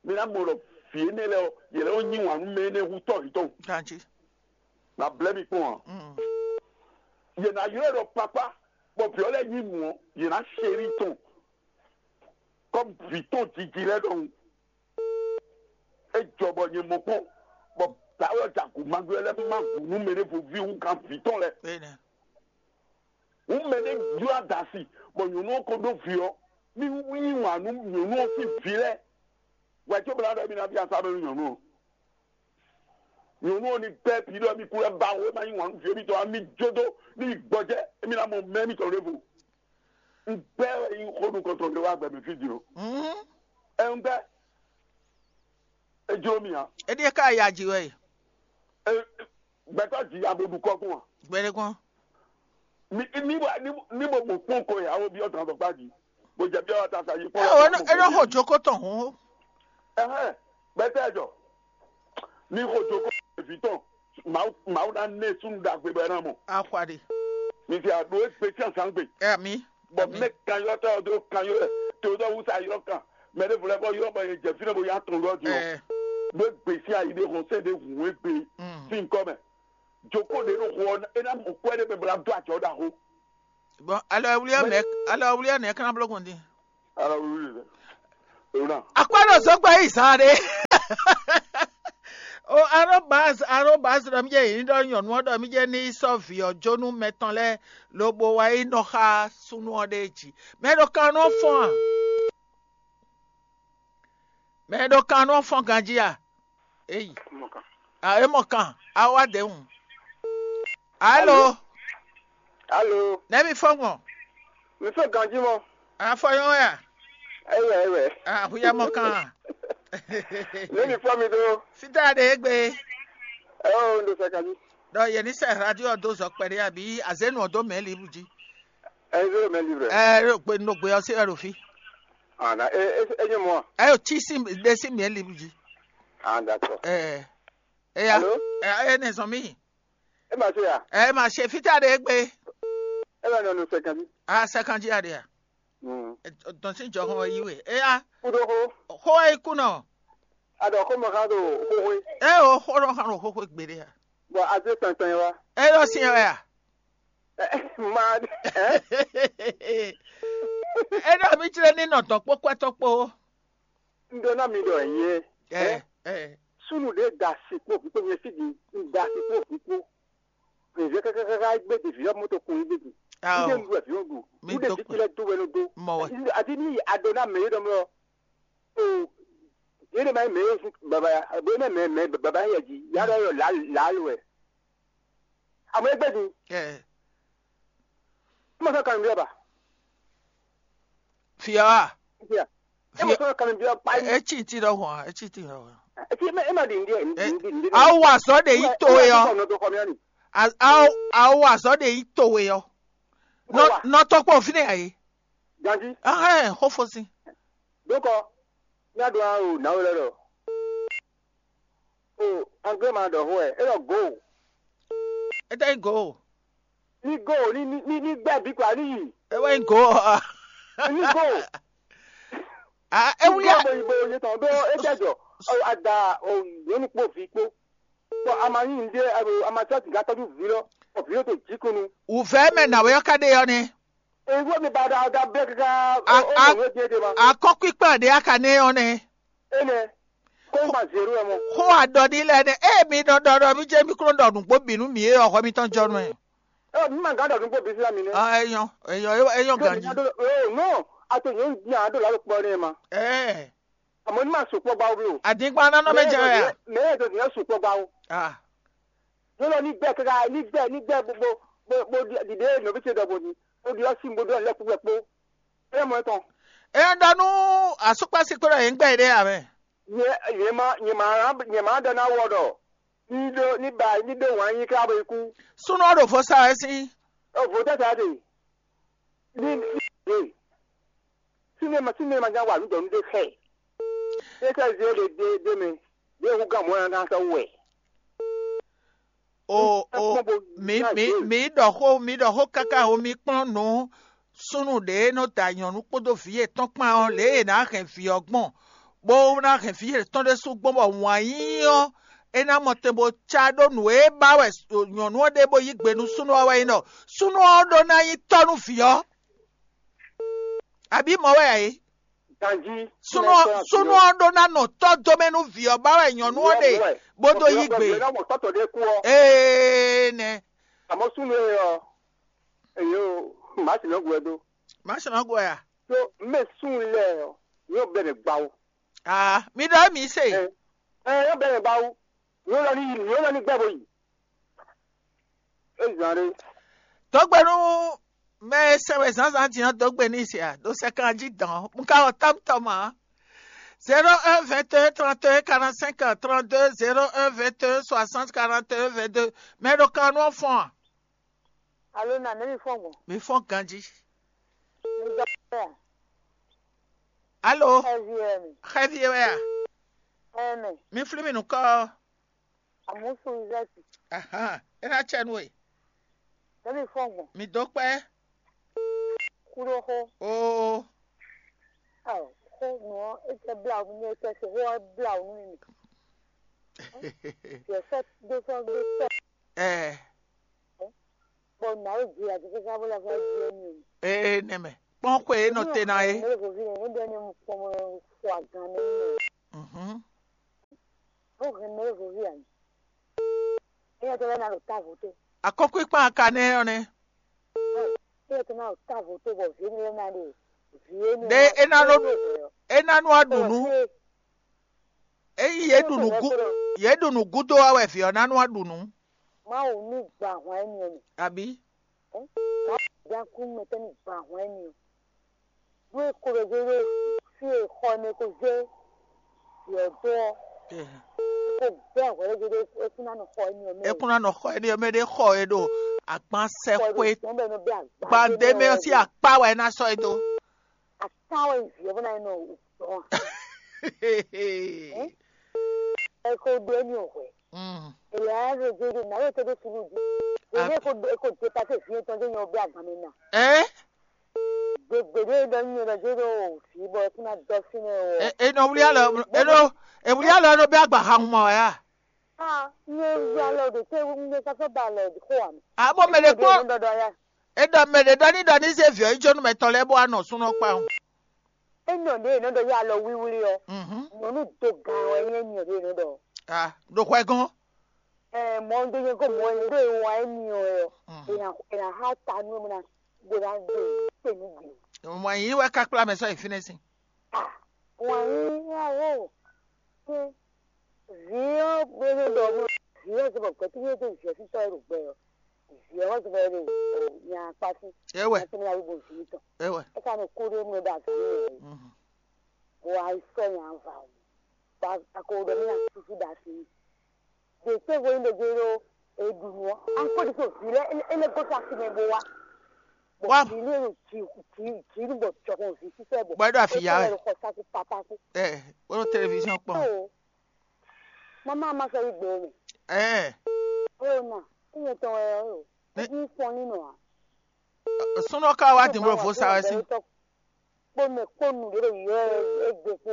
mi ná mɔ ɖɔ vǐ énɛ́ lɛ́ɛ ɔ́, yě lɛ́ nɔ yí wǎn nú mɛ énɛ́ hú tɔ́ yětɔn. Ganjí. Na blɛ́ mi kpɔ́n ǎ. Mm. Yě ná ylɔ́ ɛ ɖɔ papá, bɔ vǐ ɔ́ lɛ́ɛ yí mǔ ɔ́, yě ná ṣe rí tɔn. Kɔ́ vǐ tɔn jiji lɛ́ɛ ɖɔhun. É jɔ bɔ nyɛ mɔ kpɔ́n, bɔ dǎwe ɔ́ ja gǔ magbe ɔ́ lɛ́ɛ má gǔ nú mɛ ɖé vo ví hú kan vǐ tɔn lɛ́ɛ. Énɛ́. Hǔn mɛ ɖé jló adasi, bɔ nyɔ̌nu ɔ́ ko ɖó vǐ ɔ́, ní yí wǎn nú nyɔ̌nu ɔ́ sín vǐ lɛ́ɛ. Hwɛ có bla ɖɔ émí ná byɔ́ asá mɛ nú nyɔ̌nu ɔ́. Nyɔ̌nu ɔ́ ní gbɛ́ bǐ ɖɔ émí kú lɛ́ ba wǒ, é má yí wǎn nú vǐ émítɔn ǎ, mí jó dó ní yi gbɔjɛ́, émí ná mɔ mɛ émítɔn ɖěvo. Un gbɛ́ wɛ nyí xó nukɔntɔn ɖé wá gbɛ mɛ fí din ɔ́. Mhm. Ɛ un gbɛ́. É jló mì ǎ. Éɖíe ká ya ji wɛ e. Ɛ, gbɛtɔ́ ji ya bó ɖu kɔ́ kún a? Gbɛɖe kɔn. Ní ní bó ní ní bó mɔ kpɔ́n kɔ yàwó bí ọ̀tàn àtọ̀gbá ji. Bó jẹ bí ọ̀tàn àtàyè kpọ́n. Ẹ o, ẹ lọ hàn jókòó tàn hó. Ẹhẹ́, gbẹtẹ́ ẹ̀jọ̀. Ní hàn jókòó èvì tán. Màá màá ná ní súnú dàgbé bẹ́ẹ̀ náà mọ̀. Akwade. Mi fi àdó égbé tí àṣà ń gbè. Ẹ mi. Bɔ mɛ kan yɔ tɔ do kan yɔ tɔ do wusa yɔ kan mɛ de vlɛ bɔ yɔ bɔ yɛ jɛ fi ne bo ya tɔn lɔ di o. Ɛ. Bɛ gbèsè ayi de hɔn sɛ de hun egbe Mm. si nkɔ mɛ. Joko de no xɔ ena mɔ kɔɛ de bɛ bla do ajɔ da ho. Bon, alɔ ewulia mɛ alɔ ewulia nɛ kana blo kun din. Ala wuli de. Ewuna. Akpa do so gba yi zan de. O arobaz arobaz ɖɔ mí jɛ yě ní ɖɔ nyɔ̌nu ɔ́ ɖɔ mí jɛ ní yi sɔ́ vǐ ɔ́ jó nú mɛ tɔn lɛ́ɛ, lobo wá yi nɔ xá súnnu ɔ́ ɖe jí. Mɛ ɖo kan nɔ fɔ́n a? Mɛ ɖo kan nɔ fɔ́n ganjí a? Eyi. A é mɔ kan, a wá dě hǔn. Alo. Alo. Nɛ́ mi fɔ́n gbɔn? Mi fɔ́n ganjí mɔ. A fɔ nyɔ́ wɛ a? Ewɛ ewɛ. A hu ya mɔ kan a? Nɛ́ mi fɔ́n mi ɖó? Fítá ɖe égbé. Ɛɛ o, un ɖo sɛ ganjí. Ɖɔ yě ní sɛ radio ɔ́ dó zɔ kpɛɖé abǐ azénu ɔ́ dó mɛ̌ libu jí. Ɛɛ zéro mɛ libre. Ɛɛ ɖo gbe nɔ gbe ɔ́ sí wɛ ɖo fí. Ah, na e e e nye mɔ. Ɛɛ o tí sí ɖe sí mɛ̌ libu jí. Ah, d'accord. Ɛɛ eya. Alo? Ɛɛ e nɛ zɔn mí. E ma se ya. Ɛɛ ma se fítá ɖe égbé. E ma nɔ nɔ sɛ ganjí. A sɛ ganjí a ɖe a? Mm. Dɔn sí jɔhɔn wɛ yí we. Eya. Kudo xo. Xó wɛ yí kú nɔ. A ɖɔ xó mɔ xá ɖo xóxó. E o xó nɔ xá ɖo xóxó gbeɖé a? Bɔ azé tɔntɔn yɛ wa. E ɖo sí wɛ a? Ma ɛ. E ɖɔ mi tlɛ ní nɔ dɔn kpó kwɛtɔ kpó. Un ɖó ná mi ɖɔ nyɛ. Ɛ ɛ. Súnnu ɖé da asi kpó vǐ kpó nyɛ fí ɖi un da asi kpó vǐ kpó. Vǐvɛ́ kákákáká gbé ɖevi ɔ́ mɔto kun yí gbé. Ao. Ndé nu wɛ vǐ ɔ́ ɖu. Mi ɖe dó vǐ kpɛ. Lɛ́ɛ dó wɛ nɔ dó. Mɔ wɛ. Adi ní ado ná mɛ é ɖɔ mlɔ. O yé ɖe ma nyí mɛ é sú baba ya bo é mɛ mɛ mɛ baba yɛ jí ya ɖɔ yɔ lǎ lǎ lo wɛ. Amɔ é gbé din. Ɛ. Má sɔ́ kan nǔɖé ba. Fia wa. Fia. É mɔ sɔ́ kan nǔɖé ba. Etsi ti ɖɔ hɔn, etsi ti ɖɔ hɔn. Etsi é ma ɖi nǔɖé nǔɖé. Awo azɔ de yi to ye ɔ. Awo azɔ de yi to ye ɔ. Nɔ tɔkpɔ fi ne ayi. Ganji. Ahɛn xofo si. Dokɔ, mía ɖo ná o nǎwe lɛ́ɛ ɖɔ. O anglé ma ɖɔ xó wɛ, é ɖɔ go. Étɛ́ nyí go? Ní go ní ní ní ní gbɛ bí kpa ní yi. É wɛ nyí go ɔ́. Ní go. Ah, é wúlí a. Bo yi bo yi tɔn ɖó é jɛ jɔ. Ada o nyɔnu kpó vi kpó. Bɔ a ma nyí nǔɖé a ma sɔ́ sǐgá tɔ́jú vǐ lɔ, bɔ vǐ lɔ to jǐkunu. Wǔvɛ́ mɛ nǎwe ɔ́ ka ɖe ɔ́ nɛ́. Èyí wọ́n mi ba da da bẹ́ẹ̀ kíká. Akɔ́kpíkpá ɖé a ka nɛ́ ɔ́ nɛ́. Énɛ́ kó ma zé ɖó ɛ mɔ. Xó aɖɔ ní lɛ́ɛ nɛ́ ée mi nɔ ɖɔ ɖɔ mí jẹ́ mí kúnɔ ɖɔ nǔgbó bǐ nú mǐ é ɔ́ hwɛ mitɔn jɔ nú ɛ. Ɛ mi ma gán ɖɔ nǔgbó bǐ sílá mi nɛ́. Ɔ ẹyɔ ẹyɔ ẹyɔ ganji. Nɔ ato nyɔ̌nu dín a ɖo lǎ ɖo kpɔ nɛ́ ma. Ɛɛ. Àmọ́ ní máa sùn kpɔ́ gbá wú bí o. Àdínkpá nánà mɛ jẹ wɛ a? Mɛ yẹn tó ní sùn kpɔ́ gbá wú. Ah. Yóò lọ ní gbẹ kára ní gbẹ ní gbẹ bó bó bó bó dìde nɔbí ce dɔ̀bò ní bó di ɔsí bó dɔ̀n lẹ́kú wẹ̀ kpó. Ẹ mọ̀ ẹ́ tán. Ẹ ń dánú àsopásí kúrò yìí ń gbẹ ìdí àmì. Yẹ yẹ ma yẹ ma yẹ ma dán náà wọ dọ̀. Ní dó ní ba ní dó wǎn yín ká bó ikú. Súnú ọ̀rọ̀ fọ́ sáré sí. Ó vò tẹ́tẹ́ á dè. Ní ní dè. Sínú ẹ̀ ma sínú ẹ̀ ma já wà ní dɔ̀nú dé xẹ́. Ṣé sẹ́ zé lè dé dé mi? Dé hu gán mọ́ ẹ̀ ká sọ wẹ̀. O o mi mi mi ɖɔ xó mi ɖɔ xó káká o mi kplɔ́n nǔ súnnu ɖě nɔ da nyɔ̌nu kpódó vǐ yětɔn kpán ɔ́ lě e è nǎ hɛn vǐ ɔ́ gbɔn, bó ná hɛn vǐ yětɔn ɖésú gbɔn bɔ wǎn yíyí ɔ́ é ná mɔ tɛn bó cá ɖó nǔ e ba wɛ nyɔ̌nu ɔ́ ɖe bó yí gbe nú súnnu ɔ́ wɛ nyí ɖɔ súnnu ɔ́ ɖó ná nyí tɔ́ nú vǐ ɔ́. Abǐ mɔ̌ wɛ ǎ é? Ganjí. Súnnu ɔ́ súnnu ɔ́ ɖó ná nɔ tɔ́ dó mɛ nú vǐ ɔ́ ba wɛ nyɔ̌nu ɔ́ ɖe bó dó yí gbe. Ná mɔ tɔ́tɔ ɖé kú ɔ́. Ee nɛ. Àmọ́ súnnu ɛ ɔ èyí o màá sì lọ́gùn ẹ dó. Má ṣe má gbɔ ya. Tó mɛ súnnu lɛ ɔ yóò bẹ̀rẹ̀ gbà o. Aa mi ɖɔ mi se. Ɛ ɛ yóò bẹ̀rẹ̀ gbà o. Yóò lọ ní yìí yóò lọ ní gbẹ́ bó yìí. É zàn rè. Dɔgbe nú mɛ e sɛn wɛ zǎnzǎn din ɔ́ dó gbe n'i se a ɖo sɛkan jí dɔn un ka wɔ tɔ́mtɔ́m ǎ. Zéro un vingt un trente un quarante cinq trente deux zéro un vingt un soixante quarante un vingt deux. Mɛ ɖo kan nú ɔ́ fɔ́n a? Alo na nɛ mi fɔn gbɔn. Mi fɔ́n ganjí. Mi dɔ ya. Alo. Xɛvi wɛ mi. Xɛvi wɛ a? Ɛmɛ. Mi flí mi nukɔ. Amusu izɛti. Ahan. E na cɛ nu e. Nɛ mi fɔn gbɔn. Mi dó kpɛ. Kuɖo xo. Oo. Aw, xo nɔ e tɛ bla nu mi e tɛ se xo bla nu mi. Yɛ sɛ do sɔ do sɛ. Ɛɛ. Bɔ nǎwe ji aɖe káká bó lɛ́ vɔ ji émí o. Ee nɛmɛ kpɔ́n xwe e nɔ te ná é. Mɛ lɛ́ vɔví nɛ é ɖɔ ní mu kpɔmɔ xɔ agán nɛ mɛ. Mhm. Ó hɛn mɛ e vo ví ǎ. Éyɛ́ tɔn lɛ́ɛ ná ɖo távo tó. Akɔ́nkpinkpan aka nɛ́ ɔ́ nɛ́. Éyɛ́ tɔn ná ɖo távo tó bɔ vǐ énɛ́ lɛ́ɛ ná ɖo vǐ énɛ́. Ɖé é ná nɔ ɖu é ná nú aɖu nú. Ényí yě ɖu nǔ gú yě ɖu nǔ gúdo wá wɛ vǐ ɔ́ ná nú aɖu nǔ. Mawu ní gba ahwan énɛ́ ɔ́ mɛ. Àbí? Mawu dán kú mɛ tɛ́ ní gba ahwan énɛ́ ɔ́. Nú é ko ɖo zé ɖó fí e xɔ e mɛ ko zé vǐ ɔ́ dó ɔ́, ko gbɛ́ hwɛ̌ lɛ́ɛ zé ɖó é kún ná nɔ xɔ énɛ́ ɔ́ mɛ. É kún ná nɔ xɔ énɛ́ ɔ́ mɛ ɖé xɔ e ɖo agban sɛxwe gbadé mɛ ɔ́ sín akpá wɛ é ná sɔ́ é dó. Atán wɛ vǐ ɔ́ bó ná nɔ dɔn a? Ɛ ko ɖó énɛ́ ɔ́ hwɛ̌. Èlè á ɖo zé ɖó nǎ yɛ tɛ́ ɖó súnnu jí. Èlè é ko é ko dé pasé vǐ yɛn tɔn dó nyɛ ɔ́ bɛ́ agban mɛ ná. Ɛ Gběgbé ɖé ɖɔ nú nyɛ ɖɔ jé ɖo vǐ bɔ é kún ná dɔ fínɛ́ ɔ. E- e nɔ wlí alɔ e nɔ e wlí alɔ e nɔ bɛ agba ha hun ma wɛ a? Ah, nyɛ wlí alɔ ɖo té nyɛ sɔsɔ ba alɔ xó wa mɛ. Abo mɛ ɖe kpɔn Ɖɔ ɖɔ ya. E ɖɔ mɛ ɖe ɖɔ ní ɖɔ ní zé viɔ yi jó nú mɛ tɔn lɛ́ɛ bó wá nɔ súnɔ kpá hun. E nɔ ɖe e nɔ ɖɔ ya alɔ wíwlí ɔ. Mhm. Nyɔnu do gan wɛ nyɛ nyɔ ɖe e nɔ ɖɔ. Ah, ɖo hwɛ gɔn. Ɛ mɔ ɖo nyɛ ko mɔ e ɖo e wa e mi ɔ ɛ ɔ. Mhm. E na e na ha ta nú e mo na gbe ná gbe kpe nú gbe. Mɔ yí wɛ ká kplá mɛ sɔ yi fínɛ́ sin. Ah, wǎn yí awo. Ṣé vǐ ɔ́ gbé ɖo ɖɔ mɔ vǐ ɔ́ zɔ́ bɔ gbɛtúnyɛ dó vǐ ɔ́ sín tɔ́ e ɖo gbɛ ɔ́. Vǐ ɔ́ zɔ́ bɔ e ɖo nya kpá sí. Ewɛ. Nya tɛ́ mɛ ná wí bo vǐ tɔn. Ewɛ. É ka nɔ kú ɖé mɔ ɖo azǎn mɛ wɛ. Mhm. Bɔ a yi sɔ́ nya va o. Bɔ a ko ɖɔ mí ná súsú ɖo asi. Ɖe tɛ́nvo nyí ɖɔ jɛ ɖo e ɖu nǔ ɔ́, a kpɔ́ ɖi so vǐ lɛ́ɛ é lɛ́ gosín asi mɛ bó wá. Bɔ Wá. Vǐ lɛ́ɛ ɖo jǐ jǐ jǐ nú bɔ jɔhɔn vǐ sísɛ bɔ Bɔ é ɖo afi ya wɛ. Xɔ sáku papá kú. Ɛ, bó ɖo téléviziɔn kpɔn. Ó, mama ma sɔ yi gbɛ o mɛ. Ɛ, Ó na, é nyɛ tɔn wɛ ó. Ní- É ní fɔn ní nɔ a. Súnɔ ká wá dìbò fó sa wɛ sí. Kpó mɛ kpó nu ɖě ɖo yɔ ɛ gbé kpó ɔ.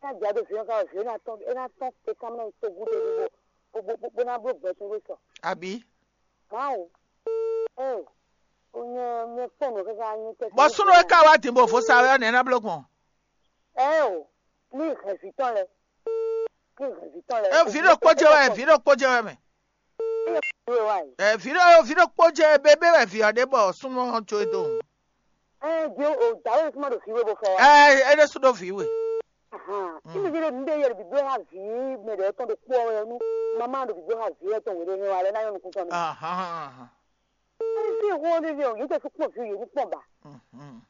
Ná dza ɖo vǐ ɔ́ ká vǐ ɔ́ ná tɔn é ná tɔn te ká mɛ to gúdo ɖo bó bó bó ná bló gbɛ tɔn ɖó sɔ. Àbí? Máwo. Ɛ o nyɛ nyɛ kpɔ́n nɔ káká nyɛ tɛ. Bɔ súnɔ é ká wá dìbò fó sa wɛ ɔ́ nɛ̌ ná bló gbɔn? Ɛ o ní hɛn vǐ tɔn lɛ. Ní hɛn vǐ tɔn lɛ. Ɛ vǐ ɖo kpó jɛ wɛ vǐ ɖo kpó jɛ wɛ mɛ. Ɛ vǐ ɖo vǐ ɖo kpó jɛ bébé wɛ vǐ ɔ́ ɖe bɔ súnɔ ɔ́ jó e dó. Ɛ di o dǎwe kúmá ɖo vǐ we bó fɔ wa. Ɛ é ɖésú ɖó vǐ we. Ahan. Kí ni yɛrɛ mi bɛ yɛrɛ bi bɛ ha vǐ mɛ ɖe tɔn ɖo kpó ɔ́ wɛ nú mama ɖo bi bɛ ha vǐ wɛ tɔn wɛ ɖe wa lɛ ná yɔ nukun tɔn mi. Ahan. Ɛ fi hɔn ɖe ɖe o yɛ tɛ fi kpɔn vǐ yɛ ní kpɔn ba. Mhm.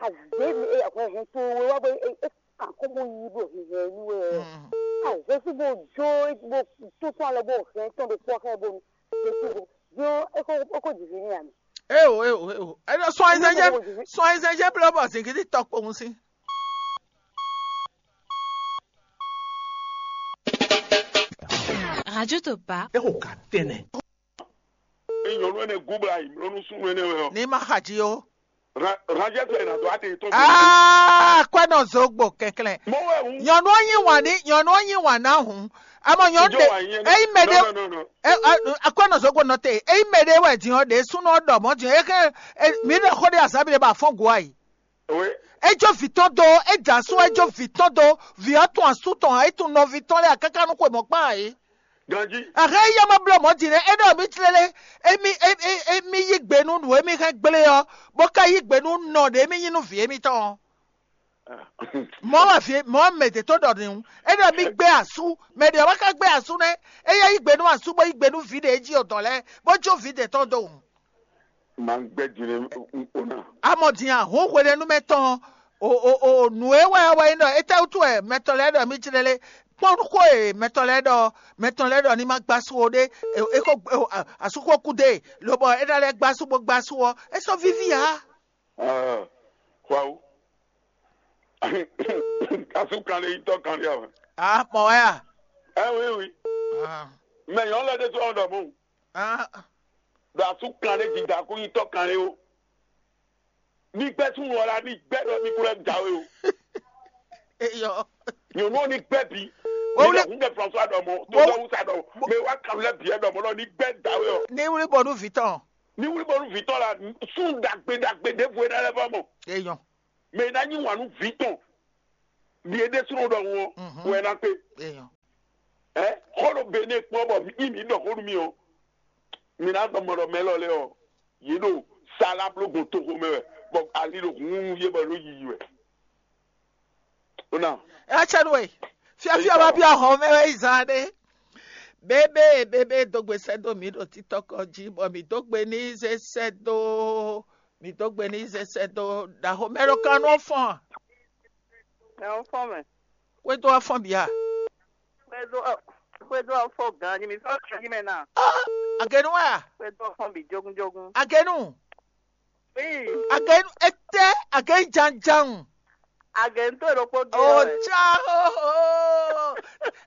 Azě mi e hwɛ hɛn to we wá bɔ e e kan kó bó yí bó hihɛ ní we ɔ. Mhm. Azě sí bó jó bó tó tó alɔ bó hɛn tɔn ɖo kpɔ xɛ bó nu. Jésù bó jó é kó é kó jìjì ní àmì. Eo eo eo. Ẹnlẹ sún ayizẹjẹ sún ayizẹjẹ blọ bọ zingidi tɔ kpowun sí. Radio Topa. Eo ka tẹnɛ. Nyɔnu ɛnɛ gúbla yi mlɔnu súnnu ɛnɛ wɛ ɔ. Ní ma xa jí o. Ránjẹ́ tó ẹ̀ nà dó àti tó. Aa kwɛ nɔ zogbo kɛnklɛn. Mɔ wɛ ŋu. Nyɔnu ɔ́ nyi wàn ní nyɔnu ɔ́ nyi wàn ná hùn. Amɔ nyɔnu Ìjọ de wà yẹn. Eyi mɛ de. No, no, no, no. Akwɛ nɔ zogbo nɔ te eyi mɛ de wɛ diɔ de súnú ɔ́ ɖɔ mɔ diɔ eke mi ɖe xɔ de azan mi de ba fɔn gu ayi. Oui. Ejo vi tɔn do eja su ejo vi tɔn do vi ɔ́ tún asú tɔn ayi tún nɔvi tɔn lɛ akaka nú xwe mɔ kpán ayi. Ganji. Ahɛn yi ɔmɔ blɔ mɔ din nɛ enɔ mi tlele emi emi yi gbe nú nǔ emi hɛn gblé ɔ́ bó ka yi gbe nú nɔ ɖe emi nyi nú vǐ emitɔn ɔ́. Mɔ̌ wɛ vǐ mɔ̌ mɛ ɖě tó ɖɔ n'i enɔ mi gbé asú mɛ ɖě wá ka gbé asú nɛ́ eya yi gbe nú asú bó yi gbe nú vǐ ɖě jí odɔ̌ lɛ́ɛ bó jó vǐ ɖě tɔn dó wǔ. Máa ń gbẹ́ jìnnà ń pò náà. Amɔ̀dìyàn hó hwenɛ́númɛ tɔn o o o nǔ e wɛ wɛ nyí ɖɔ étɛ́wútu wɛ mɛtɔn lɛ́ɛ ɖɔ mí jlɛ́ lé kpɔ́n xó e mɛtɔn lɛ́ɛ ɖɔ mɛtɔn lɛ́ɛ ɖɔ ní ma gbá sú o ɖé e e ko e o a- asúxó kú dé lobɔ é ná lɛ́ gbá sú bó gbá sú ɔ́ é sɔ́ víví ǎ. Ah, Xwawu. Asú kan lé nyitɔ́ kan lé àwọn. A mɔ wɛ a? Ẹ wí wí. Ah, Mɛ nyɔ̌nu lɛ́ɛ ɖésú ɔ́ ɖɔ mɔ̌. Ah, ɖo asú kan ɖé dida kó nyí tɔ́ kan ɖé ó. Mi gbɛ́ súnnu ɔ́ la, mi gbɛ́ ɖɔ mi kú lɛ́ da we ó. Eyɔ. Nyɔ̌nu ɔ́ ní gbɛ́ bǐ. Wọ́n wúlé- Nígbà kúndé François ɖɔ mɔ̌, tó Wọ́n- lọ́wọ́ sá ɖɔ mɔ̌, mɛ wá kan lɛ́ bǐ ɛ ɖɔ mɔ̌ lɔ ní gbɛ́ da we ɔ. Ní wúlí bɔ nú vǐ tɔn. Ní wúlí bɔ nú vǐ tɔn la, sún ɖagbe ɖagbe ɖěvo é ná lɛ́ vɔ mɔ. Eyɔ. Mɛ é ná nyí wǎn nú vǐ tɔn. Ɖi é ɖésúnɔ ɖɔhun ɔ́, Mhm. wɛ é ná kpé. Eyɔ. Ɛ xɔ ɖo Benɛ kpɔ́n bɔ mí mí ɖɔ xó nú mì ɔ́, mi ná dɔn mɔ ɖɔ mɛ lɔ lɛ ɔ́, yě ɖo sala bló gbɔn toxo mɛ wɛ, bɔ ali ɖo hun yé bɔ ɖo yiyi wɛ. Ona. Ɛ cɛ nú we. Fiafia ma bia hɔn mɛ wɛ yi zan ɖe. Bébé bébé dó gbe sɛ́ dó mǐ ɖo títɔ́kɔ jí, bɔ mǐ dó gbe ní zé sɛ́ dó mǐ dó gbe ní zé sɛ́ dó ɖaxó mɛ ɖo kan nú ɔ́ fɔ́n a? Ɛ ɔ́ fɔ́n mɛ. Xwédo ɔ́ fɔ́n bǐ a? Xwédo ɔ́, xwédo ɔ́ fɔ́n gan jí mi fɔ́n gan jí mɛ na. Agenu wɛ a? Xwédo ɔ́ fɔ́n bǐ jógúnjógún. Agenu. Ii. Agenu etɛ agenu janjan. Agenu tó ɖokpó gé. O ɔ́ wɛ. Ca o.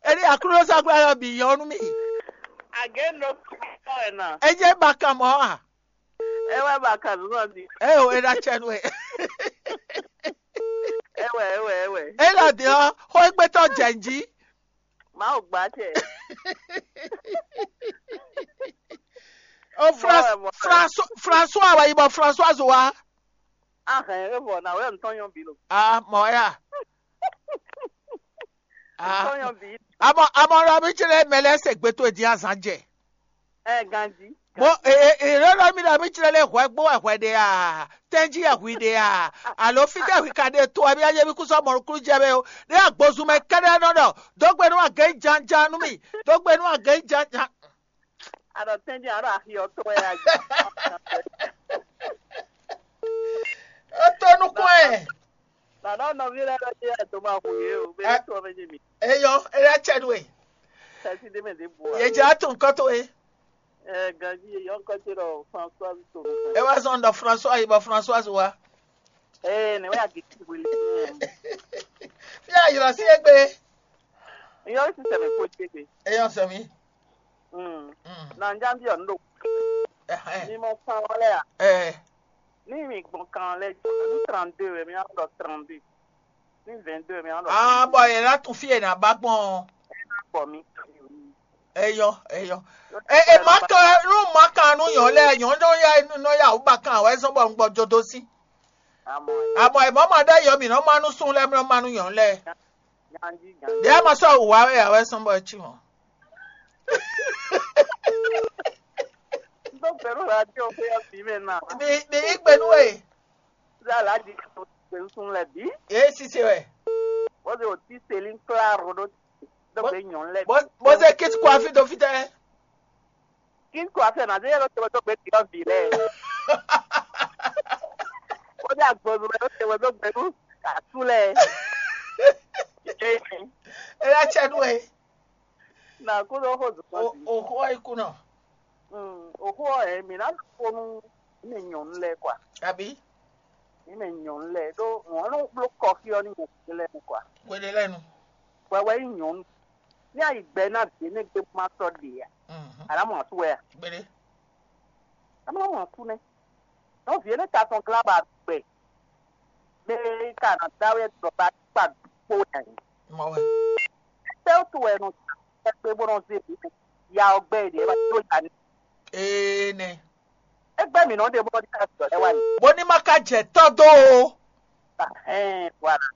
Eni akúlóságbá yɔ bǐ yɔ nú mì. Agenu ɖokpó gé ɔ́ wɛ na. Enye ba kan mɔ a? Ewɛ ba kan nú nɔ di. Eo e ɖo acɛ nú we. Ewɛ ewɛ ewɛ. E lɔ di ɔ, xó e gbɛtɔ jɛ n jí. Mawu gbá cɛ. O François wɛ mɔ. François wɛ yi bɔ Françoise wa. Ahɛn e vɔ na wɛ ntɔn yɔn bi lo. Ah, mɔ ya. Ah. Ntɔn yɔn bi. Amɔ amɔ lɔ mi tsɛ lɛ mɛ lɛ se gbe to e di azan jɛ. Ɛ ganji. Mo e e e lɔ mi lɔ mi tsɛ lɛ hwɛ gbo wɛ hwɛ de a? Tɛnji yɛ hwi de a? Alo fi tɛ hwi ka de to wɛ mi aye mi kusɔ mɔ nukunu jɛ mɛ o. Ne agbozun mɛ kɛɖɛ nɔ ɖɔ dogbe nú agɛ janjan nú mi. Dogbe nú agɛ janjan. Aɖɔ tɛnji aɖɔ axi ɔtɔ wɛ ya. E to nukun ɛ. Nana nɔví lɛ́ɛ ɖɔ jɛ ɛ dó ma hu yě o, bɛ ɛ tó ɔmɛ jɛ mi. Eyɔ, eya cɛ nú e. Tɛsi ɖé mɛ ɖé bu wa. Yě jẹ́ àtún nǹkan tó e. Ɛ ganji yeyɔ nǹkan tó ɖɔ François tó. E wá zɔn ɖɔ François yi bɔ François wa. Ee, ne wɛ agiti wele. Fi a ylɔ sí egbe. Yɔ sísè mi kó jẹ gbe. Eyɔ sɛ mi. Mm. Mm. Na njambi ɔ ndo. Ɛhɛn. Ni mo fan wale a. Ɛ. Ní mi gbɔn kan lɛ ní trente-deux wɛ mi á ɖɔ trente-deux. Ní vingt-deux wɛ mi á ɖɔ. Ah, bɔ yɛ la tún fi yɛ na ba gbɔn. Bɔ mi. Eyɔ eyɔ. E e ma kan nu ma kan nu yɔn lɛ yɔn nɔ ya nɔ ya o ba kan wɛ zɔn bɔ n gbɔ jodo si. Amɔ. Amɔ e mɔ ma ɖe yɔ mi nɔ ma nu sun lɛ nɔ ma nu yɔn lɛ. Ganji ganji. Ɖe ma sɔ wa wɛ ya wɛ sɔn bɔ etsi mɔ. N tó gbɛnú radio xwé ɔ́ bǐ mɛ ná. Mi mi yí gbɛnú e. Ṣé aláàjì kan tó gbé ń sún lẹ̀ bí? Èé sise wɛ. Wọ́n ti ò tí sèlí ń klá ro ɖó tó gbé nyɔ̌nu lẹ̀ bí. Bó bó ṣe kí kó afi tó fi tẹ́. Kí kó afi ẹ̀ náà ṣe yẹ ló tó tó gbé kí ọ̀ bì lẹ̀. Wọ́n ti àgbọ̀nù rẹ̀ ló ṣe wọ́n tó gbé nú kàtú lẹ̀. Ẹ yá tsẹ́ nú ẹ. Na kó ló xó zùkọ́ O sí. O xó ɔ́ yi kú nɔ. Mm, o xó ɔ́ ɛ mi ná kó nú mi nyɔ̌nu lɛ kɔa. Àbí? Mi mɛ nyɔ̌nu lɛ ɖó wọ́n ló bló kɔfí ɔ́ ní mo kú lɛ kɔa. Wele lɛnu. Wɛ wɛ yí nyɔ̌nu. Ní ayi gbɛ ná vǐ énɛ́ gbé má sɔ́ ɖe a. Mhm. Àná mɔ àtú wɛ a. Gbélé. Àná mɔ àtú nɛ. Nɔ vǐ énɛ́ ka tɔn glá ba gbɛ. Mɛ ka nɔ dá wɛ dɔ ba kpa kpó wɛ. Mɔ wɛ. Tɛ o tu wɛ nɔ tɛ gbe bó nɔ zé bi. Ya ɔ gbɛ ɖe ba tó ya ni. Ee nɛ. Egbɛ mi nɔ ɖe bó nɔ di ka sɔ lɛ wa ni. Bó ní má ká jɛ tɔ́ dó o. Ɛhɛn, voilà.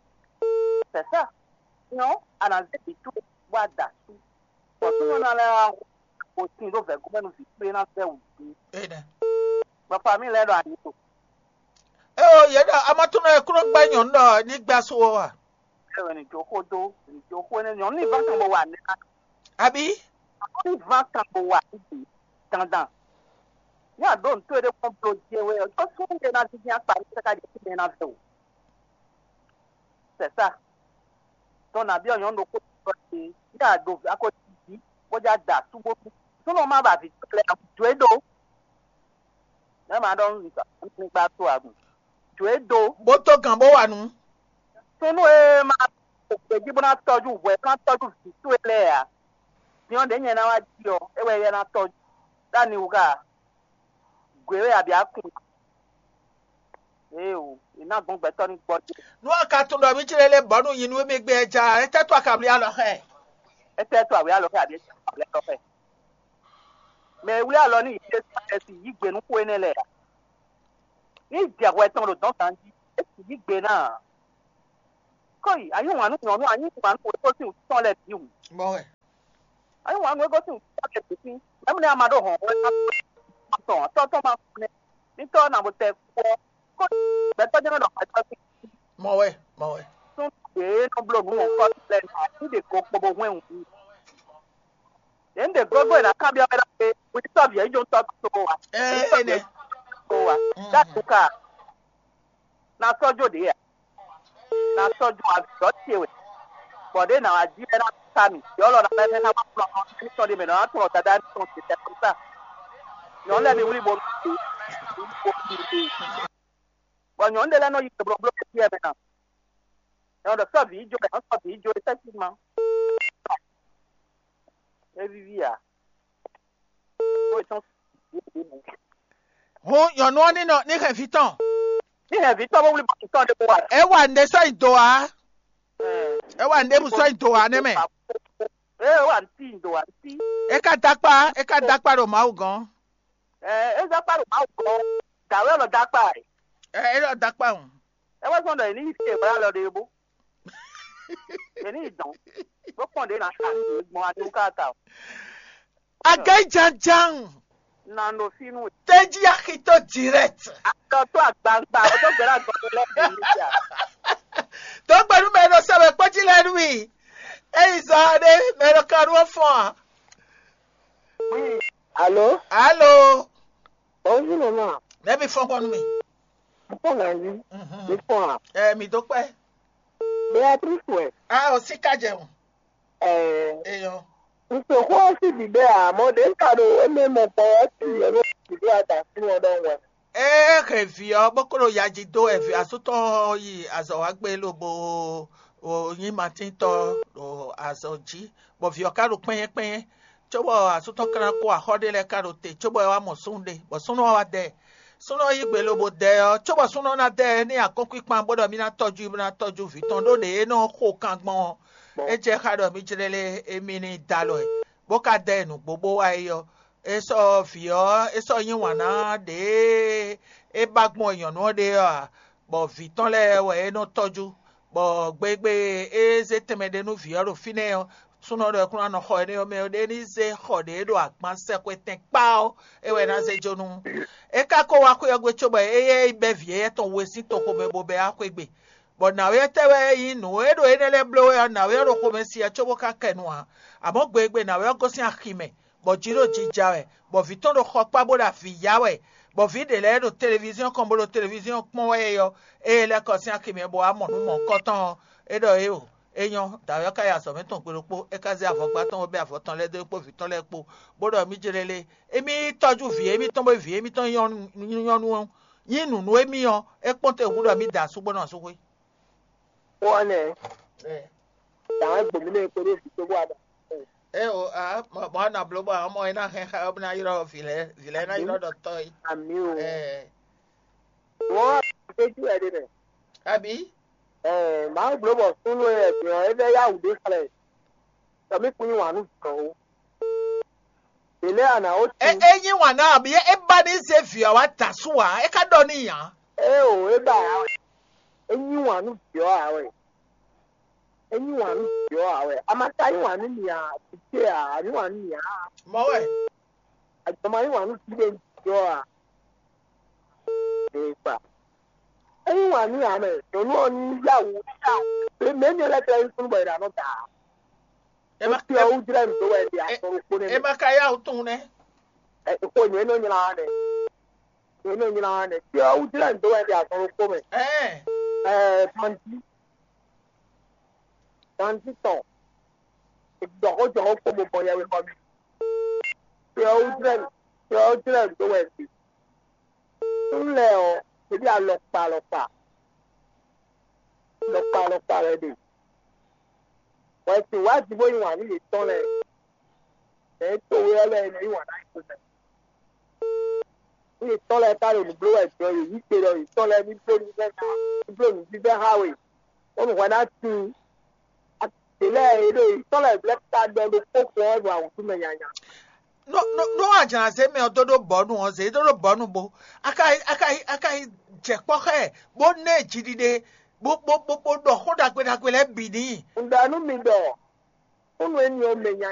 C'est ça. Non, ana zé bi tu wa da su. Bɔ tu nɔ na lɛ wa o tin do vɛ gomɛ nu vi kpe na vɛ o di. Ee nɛ. Bɔ famille lɛ ɖo ani to. Eo yě ɖɔ amatúnɔ e kúnɔ gbá nyɔ̌nu ɖɔ ní gbá so ɔ́ a? Ewɛ ni jo xó dó, ni jo xó énɛ́ nyɔ̌nu ní vá kan bó wa nɛ́ ná. Abǐ? Ní vá kan bó wa níbi dandan. Ní àdó ntó e ɖé kpɔ́n blo jɛ wɛ ɔ́, tó sún ɖé ná dídí akpa ní káká jɛ sí mɛ ná vɛ o. C'est ça. Tɔn nà bí ɔ̀nyɔ́ ɖokpó tó ɔ́ ṣe, ní àdó akó jí, bó já da súgbó. Súnú má bàa vǐ tó lɛ jǒ é ɖó. Nɛ̌ ma ɖɔ nú mi sa? Ní gbá tó agun. Jǒ é dó. Bó tó gǎn bó wa nǔ. Súnú e ma ɖo gbějí bó ná tɔ́jú hwɛ, bó ná tɔ́jú vǐ towe lɛ́ɛ ǎ. Nyɔ̌ ɖě nyɛ ná wá jí ɔ́, é wɛ yɛ ná tɔ́jú. Ɖó ani wú ká? Gwě wɛ abǐ akun. Éeǒ, è nǎ gbɔn gbɛtɔ́ ní gbɔjɛ́. Nú a ka tunwun ɖɔ mǐ jlɛ́ lé bɔ̌ nú nyi nú émí gbé ɛ ja ɔ́, étɛ́ tó a ka wlí alɔ xá ɛ? Étɛ́ tó a wlí alɔ xá ɛ, abǐ étɛ́ tó a wlí alɔ xá ɛ? Mɛ e wlí alɔ nú yě Jésú Klɛ́si yí gbe nú xó énɛ́ lɛ́ɛ ǎ. Ní jɛ hwɛ tɔn ɖo dɔ̌n ganjí, é sì yí gbe ná ǎ. Kɔ́yi, a yí wǎn nú nyɔ̌nu, a yí wǎn nú wěxo sín wǔtu tɔn lɛ́ɛ bǐ hǔn. Bɔ wɛ. Ayi wan nwe gosín kɔ́ kɛ títí. Mɛmu ne ama ɖo hɔn wɛ tɔn tɔn ma fún ne. Ní tɔ́ na bo tɛ kú ɔ. Kó gbɛtɔ́ jẹ́ mẹ́lɔ gbɛtɔ́ sí. Mɔ wɛ, mɔ wɛ. Tún ɖě nɔ bló nǔ wɔn kɔ́ lɛ nɔ àti ɖe ko kpo bo hwɛn wǔ. Ɖě ń ɖe gbogbo è nǎ kábíyá wɛ ɖɔ pé wíní sɔ́ vǐ ɛ jó tɔ́ tó wa. Ɛ, Énɛ́. Tó wa. Dá tu ka. Na sɔ́ jó ɖě a? Na sɔ́ jó azɔ̌ ce wɛ. Bɔ ɖě nǎ wá jí wɛ ná sa mì. Yɔ́lɔ ná lɛ́ ná wá kplɔ́n nɔ ní sɔ́ ɖé mɛ nɔ ná tunɔ Dadá ní tɔn ce tɛ kpɔ́n sa. Nyɔ̌nu lɛ́ɛ mi wlí bo nú bɔ nyɔ̌nu ɖé lɛ́ɛ nɔ yi blɔblɔ́ kɛ́ mɛ ná. Nyɔ̌nu ɖɔ sɔ́ vǐ jó, nyɔ̌nu sɔ́ vǐ jó, effectivement. É víví ǎ. Ó tɔn. Hǔn nyɔ̌nu ɔ́ ní nɔ ní hɛn vǐ tɔn. Ní hɛn vǐ tɔn bó wlí bɔ tɔn ɖé kó wa. É wa nǔɖé sɔ́ nyi do ǎ. É wa nǔɖé bú sɔ́ nyi do ǎ nɛ́ mɛ. É wa ntí do ǎ ntí. É ka dó akpá, é ka dó akpá ɖo Mawu gɔ́n. Ɛ é zɔ́ kpá ɖo Mawu gɔ́n. Dǎwe lɔ dó akpá ɛ. Ɛ é lɔ dó akpá hǔn. É wá zɔn ɖɔ yě ní yi fí e wá lɔ ɖe bó. Yě ní yi dɔn. Bó kpɔn ɖě ná sa gbɔn adúgbò káta o. Agɛjajam. Nando finu. Teji axito direct. Atɔ to agbangba, o to gbɛrɛ agbɔnɔ lɛ bi mi ja. Tó gbɛnu mɛ nɔ sɛbɛ kpɔtsi lɛ nú mi. Eyi zɔ ɖe mɛ nɔ ka nú fɔn a. Oui. Allô? Allô? Bonjour maman. Mɛ mi fɔn kɔnu mi. Fɔn na yi. Mhm. Mi fɔn a. Ɛ mi dó kpɛ. Beatrice wɛ. A o si ka jɛ o. Ɛɛ. Eyɔ. Nsɔxɔ ɔ́ sín bǐbɛ́ ǎ, mɔ ɖě un ka ɖo émɛ mɔ gbɔn ɔ́ sín yě ɖo bǐbɛ́ adǎsín ɔ́ ɖɔhun wɛ. Ée hɛn vǐ ɔ́, bó kó ɖo ya jí dó wɛ vǐ asú tɔn ɔ́ yi azɔ̌ wá gbé lobo nyí matíntɔ́ ɖo azɔ̌ jí, bɔ vǐ ɔ́ ka ɖo kpɛ́nyɛ́ kpɛ́nyɛ́, cóbɔ asú tɔn ka ná kó axɔ́ ɖé lɛ́ɛ ka ɖo te, cóbɔ é wá mɔ súnnu ɖé, bɔ súnnu ɔ́ wá dɛ. Súnnu ɔ́ yí gbe lobo dɛ ɔ́, cóbɔ súnnu ɔ́ ná dɛ ní akɔ́nkpinkpan bó ɖɔ mì ná tɔ́jú i bó ná tɔ́jú vǐ tɔn ɖó ɖě é nɔ xo kan gbɔn ɔ́, é jɛ xá ɖɔ mì jlɛ́ lé émí ní da alɔ ɛ, bó ka dɛ nǔgbó bó wá é ɔ́, é sɔ́ vǐ ɔ́, é sɔ́ yí wǎn ná ɖěe é ba gbɔn nyɔ̌nu ɔ́ ɖe ɔ́ ǎ, bɔ vǐ tɔn lɛ́ɛ wɛ é nɔ tɔ́jú, bɔ gbegbe e é zé tɛnmɛ ɖe nú vǐ ɔ́ ɖo fínɛ́ ɔ́, súnnu ɔ́ ɖɔ é kún ná nɔ xɔ énɛ́ ɔ́ mɛ ɔ́, ɖé ní zé xɔ ɖě ɖo agban sɛxwetɛn kpá ɔ́, é wɛ ná zé jó nú. É ka ko wá xwé ɔ́ gbe cóbɔ éyɛ́ yi bɛ́ vǐ éyɛ́ tɔn we sín toxo mɛ bó bɛ́ wá xwé gbe. Bɔ nǎwe ɔ́ tɛ́ wɛ nyí nǔ e ɖo énɛ́ lɛ́ɛ bló wɛ ɔ́, nǎwe ɔ́ ɖo xomɛ sin ɛ cóbó ka kɛ nu ǎ. Amɔ̌ gbe e gbe nǎwe ɔ́ gosín axi mɛ, bɔ jǐ ɖo jija wɛ, bɔ vǐ tɔn ɖo xɔ kpá bó ɖo avǐ ya wɛ, bɔ vǐ ɖě lɛ́ɛ ɖo televíziɔ́n kɔn bó ɖo televíziɔ́n kpɔ́n wɛ é ɔ́, ée é lɛ́ kɔ sín axi mɛ bó wá mɔ nǔ mɔ̌hunkɔtɔn ɔ́, é ɖɔ éeǒ. É nyɔ́, dǎwe ɔ́ ka yi azɔ̌ mɛ tɔn gbe ɖokpó, é ka zé avɔgbá tɔn bó bɛ́ avɔ tɔn lɛ́ɛ dó é kpó vǐ tɔn lɛ́ɛ kpó, bó ɖɔ mì jlélé, émí yi tɔ́jú vǐ émítɔn bó vǐ émítɔn nyí nyɔ́nu ɔ́, nyí nǔ nú émí ɔ́, é kpɔ́n te hǔn ɖɔ mì da asú bó nɔ asúxwé. Xó ɔ́ nɛ́. Dǎwe gbǒmí nɛ kpódó vǐ kpó bó wá ɖɔ. É o a mɔ mɔ nɔ bló bɔ ɔmɔ é ná hɛn xa ɔ́ bó ná ylɔ́ vǐ lɛ́ɛ vǐ lɛ́ɛ ná ylɔ́ ɖɔ tɔ́ é. Àmì o. Ɛ Wọ́n á gbé jú ẹ̀ ɖe mɛ. Àbí? Ɛ Mawu bló bɔ súnnu e ɛ gbìn ɔ́ é vɛ́ yá wǔ ɖé xlɛ́. Tɔmí kún yí wǎn nú dɔ̌n. Ɖě lɛ́ɛ a nǎ ó É é yí wǎn ná àbí é ba ní zé vǐ ɔ́ wá da asú ǎ, é ka ɖɔ n'i ǎ. Ée o, é ba ǎ wɛ. É yí wǎn nú vǐ ɔ́ ǎ wɛ. É yí wǎn nú vǐ ɔ́ ǎ wɛ. A ma ka yí wǎn nú mì ǎ, vǐ ce ǎ, a yí wǎn nú mì ǎ. Mɔ̌ wɛ. Ajɔma yí wǎn nú vǐ ɖé vǐ ɔ́ ǎ. Ee kpa. É yí wǎn nú ǎ mɛ. Nyɔ̌nu ɔ́ ní yá wǔ ní yá wǔ. Mɛ mɛ nyɛ lɛ́ tlɛ yí súnnu bɔ è ɖǎ nɔ da ǎ. É ma Fi ɔ́ wú jlɛ́ nǔ dó wɛ ɖe azɔn ɖokpó nɛ́ é mɛ. Ma ka yá wǔ tunwun nɛ́. Ɛ, xo nyɛ nɔ nylá wa nɛ. Nyɛ nɔ nylá wa nɛ. Fi ɔ́ wú jlɛ́ nǔ dó wɛ ɖe azɔn ɖokpó mɛ. Ɛɛ Ɛ, Banji. Banji tɔn. Jɔxó jɔxó kpó mo bɔ yɛwe xɔ mi. Fi ɔ́ wú jlɛ́ nǔ. Fi ɔ́ wú jlɛ́ nǔ dó wɛ ɖe. Súnnu lɛ́ɛ ɔ́, yě ɖi alɔkpa alɔkpa. Alɔkpa alɔkpa wɛ ɖe. Bɔ è sixú wá ji bó yí wǎn nú yětɔn lɛ́ɛ. Mɛ e to we ɔ́ lɛ́ɛ nɔ yí wǎn ná yě xomɛ. Nú yětɔn lɛ́ɛ ka ɖo nǔ bló wɛ jɔ yě yí gbe ɖɔ yětɔn lɛ́ɛ ní bló nǔvívɛ́ ná, ní bló nǔvívɛ́ xá we, bónú hwɛ ná tíin. Yě lɛ́ɛ yě ɖo yětɔn lɛ́ɛ vlɛ́ ka ɖɔ ɖokpó kpɔ́n wɛ ɖo awǔtu mɛ nyanya. Nú nú nú a jlǎn zé mɛ ɔ́ dó ɖó bɔ̌nu ɔ́, zě dó ɖó bɔ̌nu bo. A ka yi a ka yi a ka yi jɛ kpɔ́ xá ɛ, bó ná ɛ jiɖiɖe, bó bó bó bó ɖɔ xó ɖagbe ɖagbe lɛ́ɛ bǐ n'i. Un ɖɔ nú mi ɖɔ, kúnnu énɛ́ ɔ́ mɛ nya